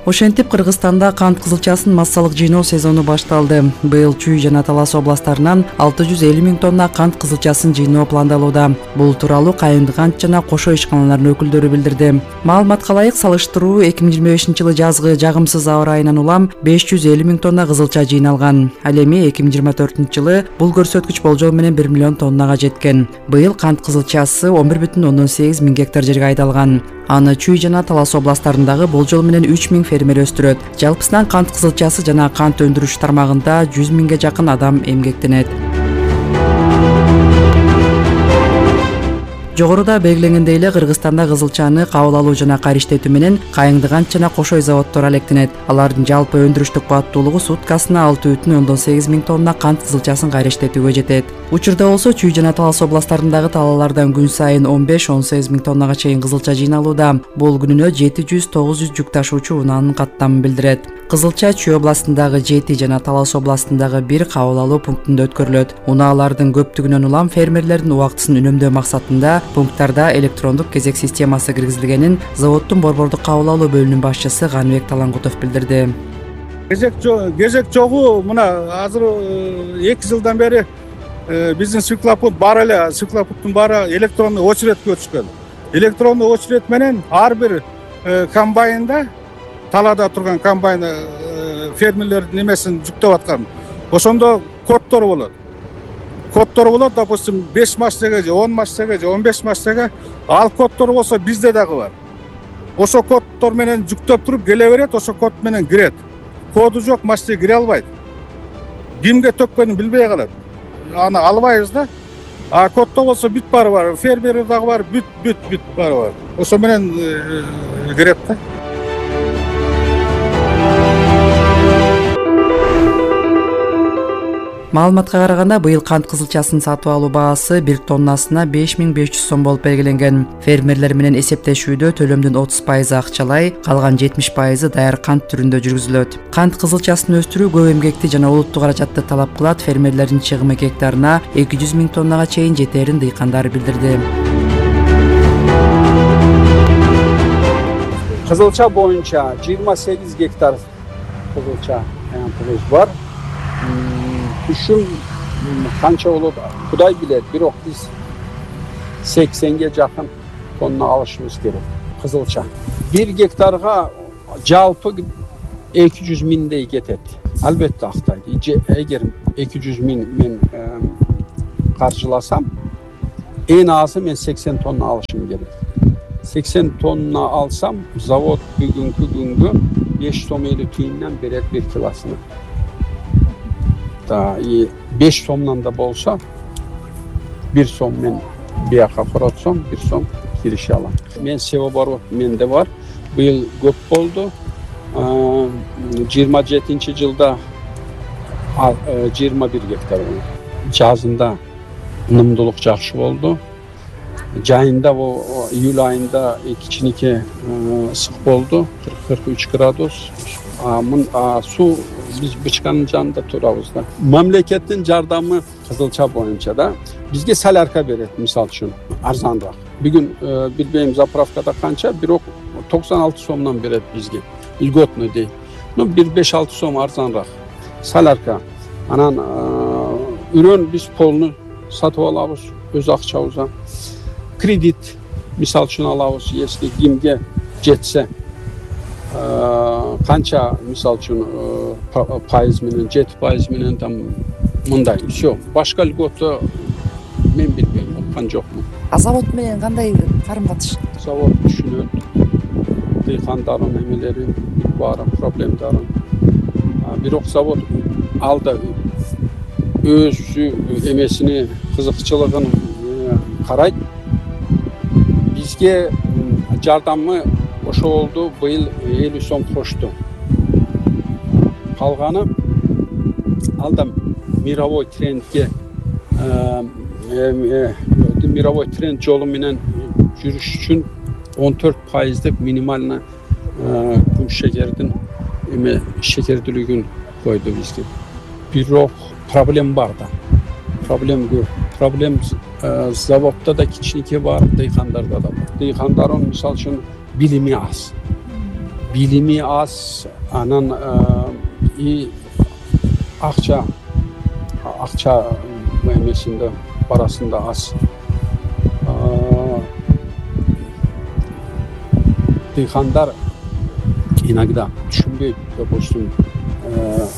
N: Ошентип Кыргызстанда кант кызылчасын массалык жыйноо сезону башталды. Быйыл Чүй жана Талас областтарынан 650 000 тонна кант кызылчасын жыйноо пландалууда. Бул тууралуу Кайыңды кант жана Кошо ишканаларынын өкүлдөрү билдирди. Маалыматка ылайык салыштыруу 2025-жылы жазгы жагымсыз аба ырайынан улам 550 000 тонна кызылча жыйналган. Ал эми 2024-жылы бул көрсөткүч болжол менен 1 миллион тоннага жеткен. Быйыл кант кызылчасы 11,8 миң гектар жерге айдалган. Аны Чүй жана Талас областтарындагы болжол менен 3000 фермер өстүрөт. Жалпысынан кант кызылчасы жана кант өндүрүш тармагында 100 000ге жакын адам эмгектенет. Жогоруда белгиленгендей эле Кыргызстанда кызылчаны кабыл алуу жана кайра иштетүү менен Кайыңды кант жана Кошой заводдору алектенет. Алардын жалпы өндүрүштүк кубаттуулугу суткасына 6,8 миң тонна кант кызылчасын кайра иштетүүгө жетет. Учурда болсо Чүй жана Талас областтарындагы талаалардан күн сайын 15-18 миң тоннага чейин кызылча жыйналууда. Бул күнүнө 700-900 жүк ташуучу унаанын каттамын билдирет. Кызылча Чүй областындагы 7 жана Талас областындагы 1 кабыл алуу пунктунда өткөрүлөт. Унаалардын көптүгүнөн улам фермерлердин убактысын үнөмдөө максатында пункттарда электрондук кезек системасы киргизилгенин заводдун борбордук кабыл алуу бөлүмүнүн башчысы Ганбек Талангутов билдирди.
V: Кезек жогу мына азыр 2 жылдан бери биздин свеклопут бар эле, свеклопуттун баары электрондук очередке өтүшкөн. Электрондук очеред менен ар бир комбайнда талаада турган комбайн фермерлердин немесин жүктөп аткан. Ошондо коддор болот. Допустим, 5 массага же 10 массага же 15 массага. Ал коддор болсо бизде дагы бар. Ошо коддор менен жүктөп туруп келе берет, ошо код менен кирет. Коду жок массага кире албайт. Кимге төккөнүн билбей калат. Аны албайбыз да. А коддо болсо бүт баары бар. Фермер дагы бар, бүт баары бар. Ошо менен кирет да.
N: Маалыматка караганда, быйыл кант кызылчасын сатып алуу баасы 1 тоннасына 5500 сом болуп белгиленген. Фермерлер менен эсептешүүдө төлөмдүн 30% акчалай, калган 70% даяр кант түрүндө жүргүзүлөт. Кант кызылчасын өстүрүү көп эмгекти жана олуттуу каражатты талап кылат. Фермерлердин чыгымы гектарына 200 000 тоннага чейин жетерин дыйкандар билдирди.
W: Кызылча боюнча 28 гектар кызылча площадь бар.
A: түшүм канча болот Кудай билет, бирок биз 80ге жакын тонна алышыбыз керек кызылча. 1 гектарга жалпы 200 миңдей кетет. Албетте актайт. Эгер 200 миң мен каржыласам, эң азы мен 80 тонна алышым керек. 80 тонна алсам, завод бүгүнкү күнгө 5 сом 50 тыйындан берет 1 килосуна. 5 сомдон да болсо 1 сом мен бияка коротсом 1 сом киреше алам. Мен себоборот менде бар. Быйыл көп болду. 27-жылда 21 гектар болду. Жазында ынымдуулук жакшы болду. Жайында июль айында кичинекей ысык болду, 40-43 градус. Суу биз бычканын жанында турабыз да. Мамлекеттин жардамы кызылча боюнча да бизге солярка берет, мисалы үчүн, арзаныраак. Бүгүн билбейм заправкада канча, бирок 96 сомдон берет бизге. Льготный дейт. 1-5-6 сом арзаныраак. Солярка. Анан үрөн биз полну сатып алабыз өз акчабыздан. Кредит мисалы үчүн алабыз, если кимге жетсе. Канча мисалы үчүн пайыз менен, 7% менен там мындай. Всё. Башка льгота мен билбейм, уккан жокмун.
E: Завод менен кандай карым-катыш?
A: Завод түшүнөт. Дыйкандардын эмелери баары проблемдарын. Бирок завод алда өзү эмесини кызыкчылыгын карайт. Бизге жардамы ошо болду, быйыл 50 сом кошту. Калганы алда мировой трендке мировой тренд жолу менен жүрүш үчүн 14%дик минимально күн шекердин шекердүүлүгүн койду бизге. Бирок проблем бар да. Проблем көп. Проблем заводда да кичинекей бар, дыйкандарда да бар. Дыйкандардын мисалы үчүн билими аз. Билими аз, анан акча эмесинде барасында аз. Дыйкандар иногда түшүнбөйт, допустим,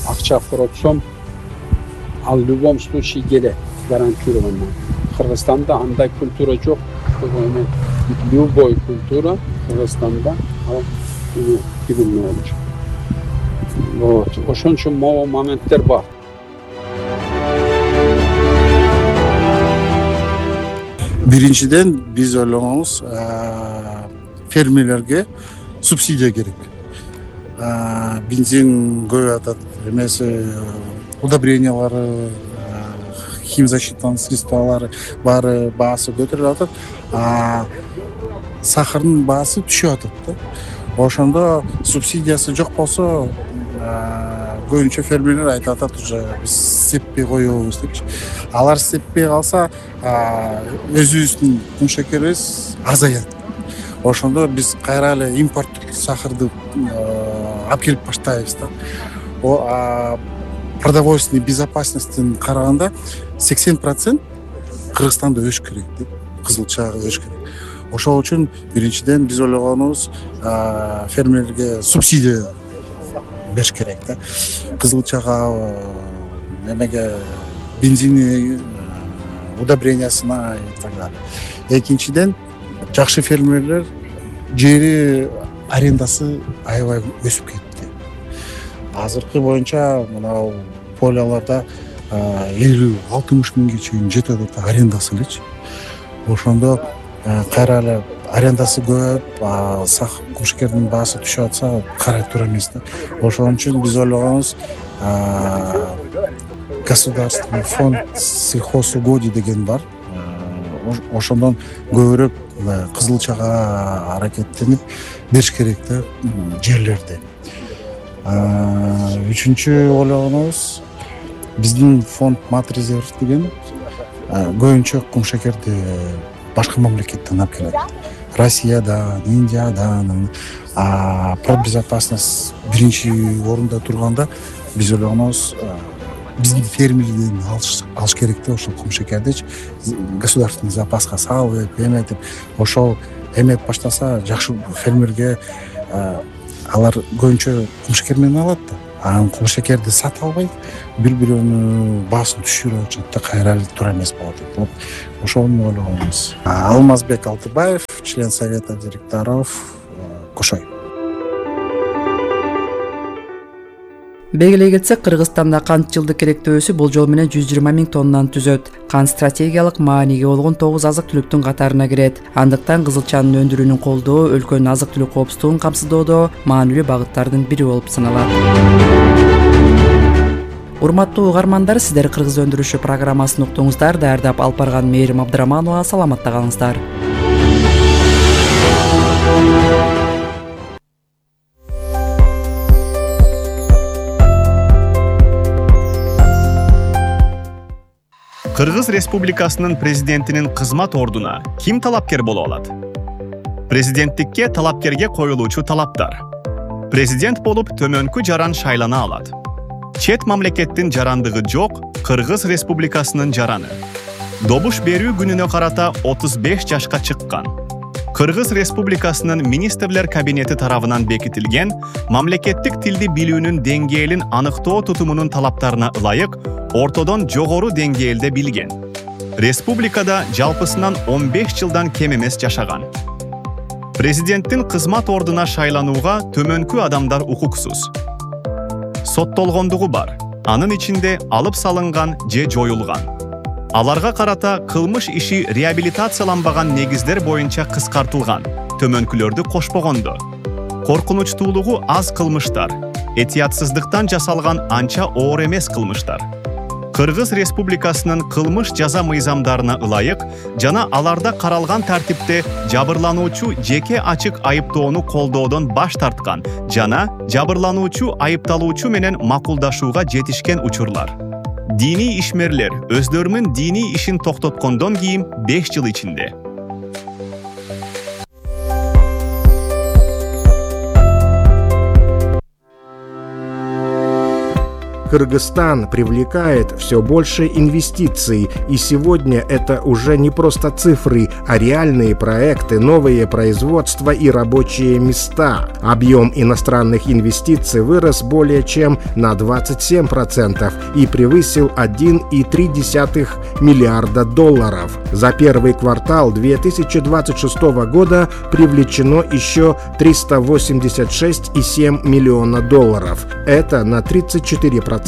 A: акча коротсом, ал в любом случае келет, гарантированно. Кыргызстанда андай культура жок. Любой культура Кыргызстанда ал билимli болчу. Вот, ошон үчүн могу моменттер бар.
V: Биринчиден биз ойлогонубуз фермерлерге субсидия керек. Бензин көп атат, эмеси удобрениялары, химзащитный средстволары баары баасы көтөрүлүп атат. Сахардын баасы түшүп атат да. Ошондо субсидиясы жок болсо, көбүнчө фермерлер айтып атат, уже биз сеппей коебуз депчи. Алар сеппей калса, өзүбүздүн кум шекерибиз азаят. Ошондо биз кайра эле импорттук сахарды алып келип баштайбыз да. Продовольственный безопасностьтен караганда 80% Кыргызстанда өш керек деп, кызылчага өш керек. Ошол үчүн биринчиден биз ойлогонубуз фермерге субсидия бериш керек да. Кызылчага эмеге бензини, удобрениясына и так далее. Экинчиден жакшы фермерлер жери арендасы аябай өсүп кетти. Азыркы боюнча мына поляларда 50-60 миңге чейин жетет арендасы элечи. Ошондо кайра эле арендасы көп, кумшекердин баасы түшүп атса карай тура эмес да. Ошон үчүн биз ойлогонубуз государственный фонд сельхозугодий деген бар. Ошондон көбүрөөк кызылчага аракеттенип бериш керек да жерлерди. Үчүнчү ойлогонубуз биздин фонд Матрезерв деген көбүнчө кумшекерди башка мамлекеттен алып келет. Россиядан, Индиядан, продбезопасность биринчи орунда турганда биз ойлогонубуз
F: биздин фермерден алыш керек да, ошол кумшекердичи государственный запаска салып эметип, ошол эметип баштаса жакшы фермерге алар көбүнчө кумшекер менен алат да. Анан кумшекерди сата албайт, бири-бирөөнүн баасын түшүрүп атышат да, кайра эле туура эмес болот деп. Вот ошону ойлогонбуз. Алмазбек Алтыбаев, член совета директоров, Кошой.
N: Белгилей кетсек, Кыргызстанда кант жылдык керектөөсү болжол менен 120 000 тоннаны түзөт. Кант стратегиялык мааниге болгон 9 азык-түлүктүн катарына кирет. Андыктан кызылчанын өндүрүүнүн колдоо өлкөнүн азык-түлүк коопсуздугун камсыздоодо маанилүү багыттардын бири болуп саналат. Урматтуу угармандар, сиздер Кыргыз өндүрүшү программасын уктуңуздар. Даярдап алып барган Мээрим Абдыраманова. Саламатта калыңыздар.
J: Кыргыз Республикасынын президентинин кызмат ордуна ким талапкер боло алат? Президенттикке талапкерге коюлуучу талаптар. Президент болуп төмөнкү жаран шайлана алат. Чет мамлекеттин жарандыгы жок Кыргыз Республикасынын жараны. Добуш берүү күнүнө карата 35 жашка чыккан. Кыргыз Республикасынын министрлер кабинети тарабынан бекитилген мамлекеттик тилди билүүнүн деңгээлин аныктоо тутумунун талаптарына ылайык ортодон жогору деңгээлде билген. Республикада жалпысынан 15 жылдан кем эмес жашаган. Президенттин кызмат ордуна шайланууга төмөнкү адамдар укуксуз. Соттолгондугу бар. Анын ичинде алып салынган же жоюлган. Аларга карата кылмыш иши реабилитацияланбаган негиздер боюнча кыскартылган, төмөнкүлөрдү кошпогондо. Коркунучтуулугу аз кылмыштар, этиятсыздыктан жасалган анча оор эмес кылмыштар. Кыргыз Республикасынын кылмыш жаза мыйзамдарына ылайык жана аларда каралган тартипте жабырлануучу жеке ачык айыптоону колдоодон баш тарткан жана жабырлануучу айыпталуучу менен макулдашууга жетишкен учурлар. Дини ишмерлер өздөрүнүн дини ишин токтоткондон кийин 5 жыл ичинде.
G: Кыргызстан привлекает все больше инвестиций, и сегодня это уже не просто цифры, а реальные проекты, новые производства и рабочие места. Объем иностранных инвестиций вырос более чем на 27% и превысил $1,3 миллиарда. За первый квартал 2026 года привлечено еще $386,7 миллиона. Это на 34%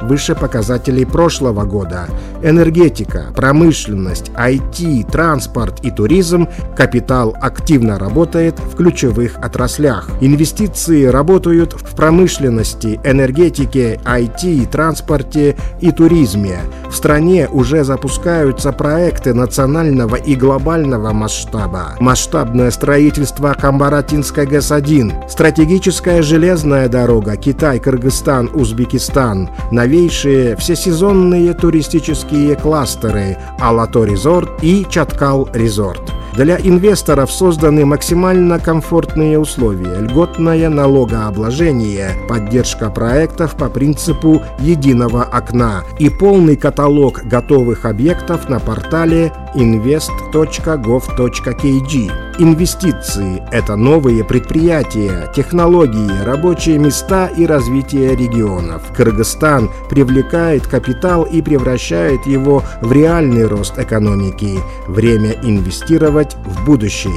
G: выше показателей прошлого года. Энергетика, промышленность, IT, транспорт и туризм, капитал активно работает в ключевых отраслях. Инвестиции работают в промышленности, энергетике, IT, транспорте и туризме. В стране уже запускаются проекты национального и глобального масштаба. Масштабное строительство Камбаратинской ГЭС-1, стратегическая железная дорога Китай-Кыргызстан, Узбекистан, новейшие всесезонные туристические кластеры Алато Резорт и Чаткал Резорт. Для инвесторов созданы максимально комфортные условия, льготное налогообложение, поддержка проектов по принципу единого окна и полный каталог готовых объектов на портале invest.gov.kg. Инвестиции – это новые предприятия, технологии, рабочие места и развитие регионов. Кыргызстан привлекает капитал и превращает его в реальный рост экономики. Время инвестировать в будущее.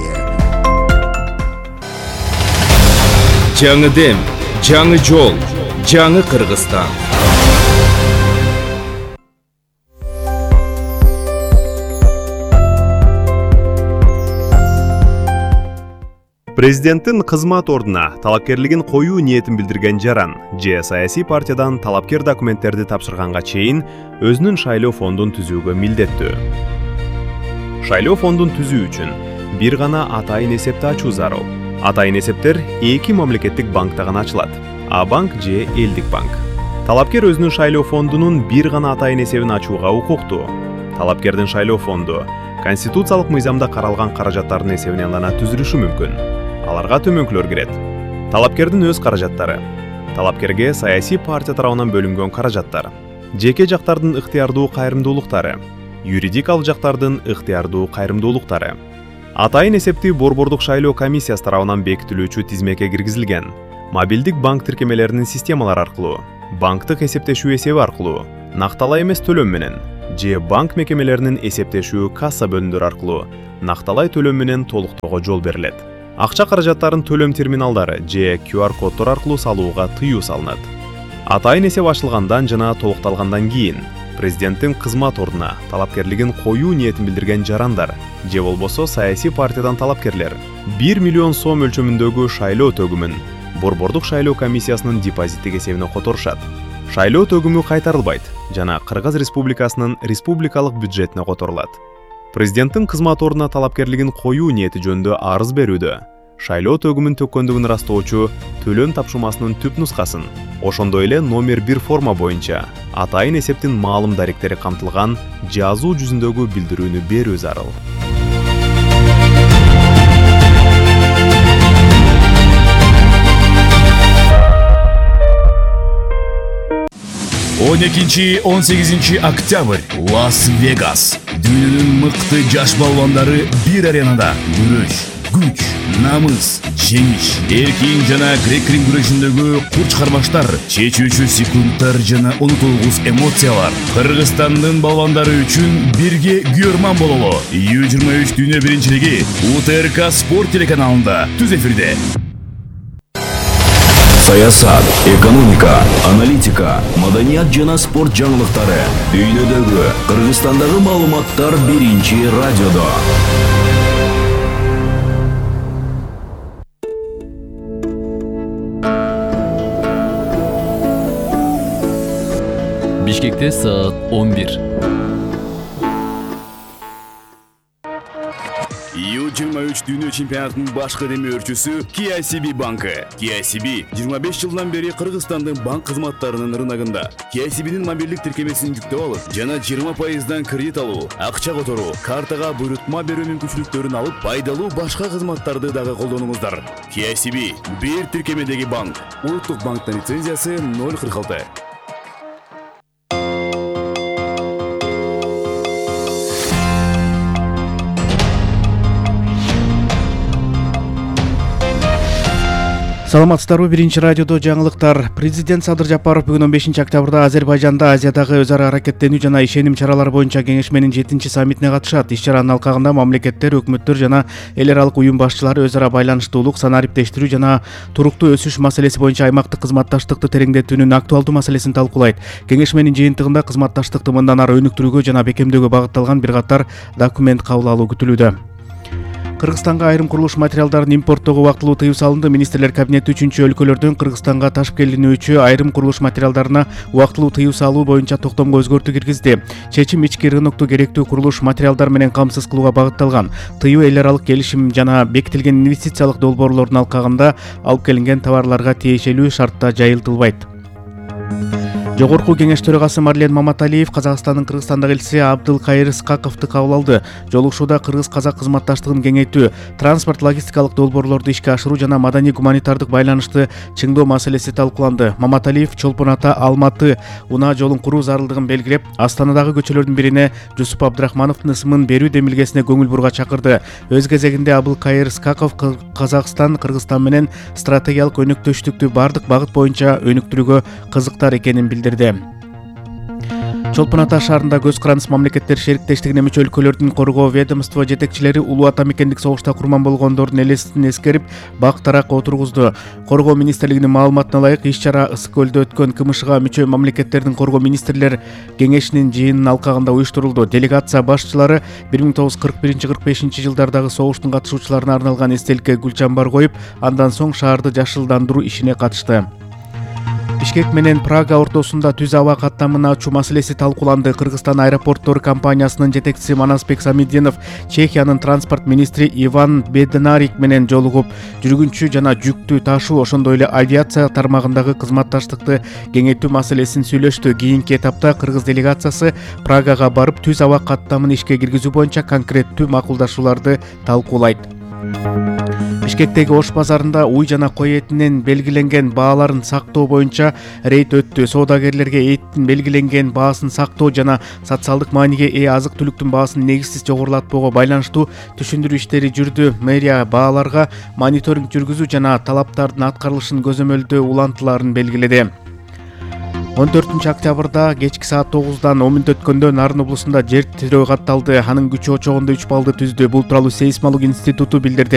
L: Жаңы дем, жаңы жол, жаңы Кыргызстан.
K: Президенттин кызмат ордуна талапкерлигин коюу ниетин билдирген жаран же саясий партиядан талапкер документтерди тапшырганга чейин өзүнүн шайлоо фондун түзүүгө милдеттүү. Шайлоо фондун түзүү үчүн бир гана атайын эсепти ачуу зарыл. Атайын эсептер 2 мамлекеттик банкта гана ачылат: А-банк же Элдик банк. Талапкер өзүнүн шайлоо фондунун бир гана атайын эсебин ачууга укуктуу. Талапкердин шайлоо фонду конституциялык мыйзамда каралган каражаттардын эсебинен гана түзүлүшү мүмкүн. Аларга төмөнкүлөр кирет. Талапкердин өз каражаттары, талапкерге саясий партия тарабынан бөлүнгөн каражаттар, жеке жактардын ыктыярдуу кайрымдуулуктары, юридик алжактардын ыктыярдуу кайрымдуулуктары. Атайын эсептүү борбордук шайлоо комиссиясы тарабынан бекитилүүчү тизмеке киргизилген мобилдик банк тиркемелеринин системалары аркылуу, банктык эсептешүү эсеби аркылуу, накталай эмес төлөм менен же банк мекемелеринин эсептешүү касса бөлүмдөрү аркылуу накталай төлөм менен толуктоого жол берилет. Акча каражаттарын төлөм терминалдары же QR коддор аркылуу салууга тыюу салынат. Атайын эсеп ачылгандан жана толукталгандан кийин президенттин кызмат ордуна талапкерлигин коюу ниетин билдирген жарандар же болбосо саясий партиядан талапкерлер 1 миллион сом өлчөмүндөгү шайлоо төгүмүн борбордук шайлоо комиссиясынын депозиттик эсебине которушат. Шайлоо төгүмү кайтарылбайт жана Кыргыз Республикасынын республикалык бюджетине которулат. Президенттин кызмат ордуна талапкерлигин коюу ниети жөнүндө арыз берүүдө шайлоо төгүмүн төккөндүгүн ырастоочу төлөм тапшырмасынын түп нускасын, ошондой эле номер 1 форма боюнча атайын эсептин маалым даректери камтылган жазуу жүзүндөгү билдирүүнү берүү зарыл.
B: Он 18 октябрь Лас-Вегас. Дүйнөнүн мыкты жаш балбандары бир аренада күрөш, күч, намыс, жеңиш, эркин жана грек-рим күрөшүндөгү курч карбаштар, чечүүчү секундтар жана унутулгус эмоциялар. Кыргызстандын балбандары үчүн бирге күйөрман бололу. U23 дүйнө биринчилиги УТРК спорт телеканалында түз эфирде. Саясат, экономика, аналитика, маданият жана спорт жаңылыктары. Дүйнөдөгү, Кыргызстандагы маалыматтар биринчи радиодо.
D: Бишкекте саат 11.
B: U23 дүйнө чемпионатынын башкы демөөрчүсү KCB банкы. KCB 25 жылдан бери Кыргызстандын банк кызматтарынын рыногунда. KCB'нин мобилдик тиркемесин жүктөп алып, жана 20%дан кредит алуу, акча которуу, картага буйрутма берүү мүмкүнчүлүктөрүн алып, пайдалуу башка кызматтарды дагы колдонуңуздар. KCB бир тиркемедеги банк. Улуттук банктын лицензиясы 046.
H: Саламатсыздарбы, биринчи радиодо жаңылыктар. Президент Садыр Жапаров бүгүн 15 октябрда Азербайжанда Азиядагы өз ара аракеттенүү жана ишеним чаралары боюнча кеңешменин 7-чи саммитине катышат. Иш-чаранын алкагында мамлекеттер, өкмөттөр жана эл аралык уюм башчылары өз ара байланыштуулук, санариптештирүү жана туруктуу өсүш маселеси боюнча аймактык кызматташтыкты тереңдетүүнүн актуалдуу маселесин талкуулайт. Кеңешменин жыйынтыгында кызматташтыкты мындан ары өнүктүрүүгө жана бекемдөөгө багытталган бир катар документ кабыл алуу күтүлүүдө. Кыргызстанга айрым курулуш материалдарын импорттоого убактылуу тыюу салынды. Министрлер кабинети 3-өлкөлөрдөн Кыргызстанга ташып келинүүчү айрым курулуш материалдарына убактылуу тыюу салуу боюнча токтомго өзгөртүү киргизди. Чечим ички рынокту керектүү курулуш материалдар менен камсыз кылууга багытталган. Тыюу эл аралык келишим жана бекитилген инвестициялык долбоорлордун алкагында алып келинген товарларга тиешелүү шартта жайылтылбайт. Жогорку кеңеш төрагасы Марлен Маматалиев Казакстандын Кыргызстандагы элчиси Абдылкайыр Скаковду кабыл алды. Жолугушууда кыргыз-казак кызматташтыгын кеңейтүү, транспорт логистикалык долбоорлорду ишке ашыруу жана маданий гуманитардык байланышты чыңдоо маселеси талкууланды. Маматалиев Чолпон Ата Алматы унаа жолун куруу зарылдыгын белгилеп, Астанадагы көчөлөрдүн бирине Жусуп Абдрахмановдун ысымын берүү демилгесине көңүл бурууга чакырды. Өз кезегинде Абдылкайыр Скаков Казакстан Кыргызстан менен стратегиялык өнөктөштүктү бардык багыт боюнча өнүктүрүүгө кызыктар экенин билдирди. Чолпон Ата шаарында көз карандысыз мамлекеттер шериктештигине мүчө өлкөлөрдүн коргоо ведомство жетекчилери улуу ата мекендик согушта курман болгондордун элесин эскерип, бак таракка отургузду. Коргоо министрлигинин маалыматына ылайык, иш-чара Ысык көлдө өткөн КМШга мүчө мамлекеттердин коргоо министрлер кеңешинин жыйынынын алкагында уюштурулду. Делегация башчылары 1941-45 жылдардагы согуштун катышуучуларына арналган эстеликке гүл чамбар коюп, андан соң шаарды жашылдандыруу ишине катышты. Бишкек менен Прага ортосунда түз аба каттамын ачуу маселеси талкууланды. Кыргызстан аэропорттор компаниясынын жетекчиси Манасбек Самиддинов Чехиянын транспорт министри Иван Беднарик менен жолугуп, жүргүнчү жана жүктү ташуу, ошондой эле авиация тармагындагы кызматташтыкты кеңейтүү маселесин сүйлөштү. Кийинки этапта кыргыз делегациясы Прагага барып, түз аба каттамын ишке киргизүү боюнча конкреттүү макулдашууларды талкуулайт. Бишкектеги Ош базарында уй жана кой этинин белгиленген бааларын сактоо боюнча рейд өттү. Соодагерлерге эттин белгиленген баасын сактоо жана социалдык мааниге ээ азык-түлүктүн баасын негизсиз жогорулатпоого байланыштуу түшүндүрүү иштери жүрдү. Мэрия бааларга мониторинг жүргүзүү жана талаптардын аткарылышын көзөмөлдөө улантууларын белгиледи. 14 октябрда кечки саат 9-дан 10 мүнөт өткөндө Нарын облусунда жер титирөө катталды. Анын күчү очогунда 3 баллды түздү. Бул тууралуу сейсмология институту билдирди.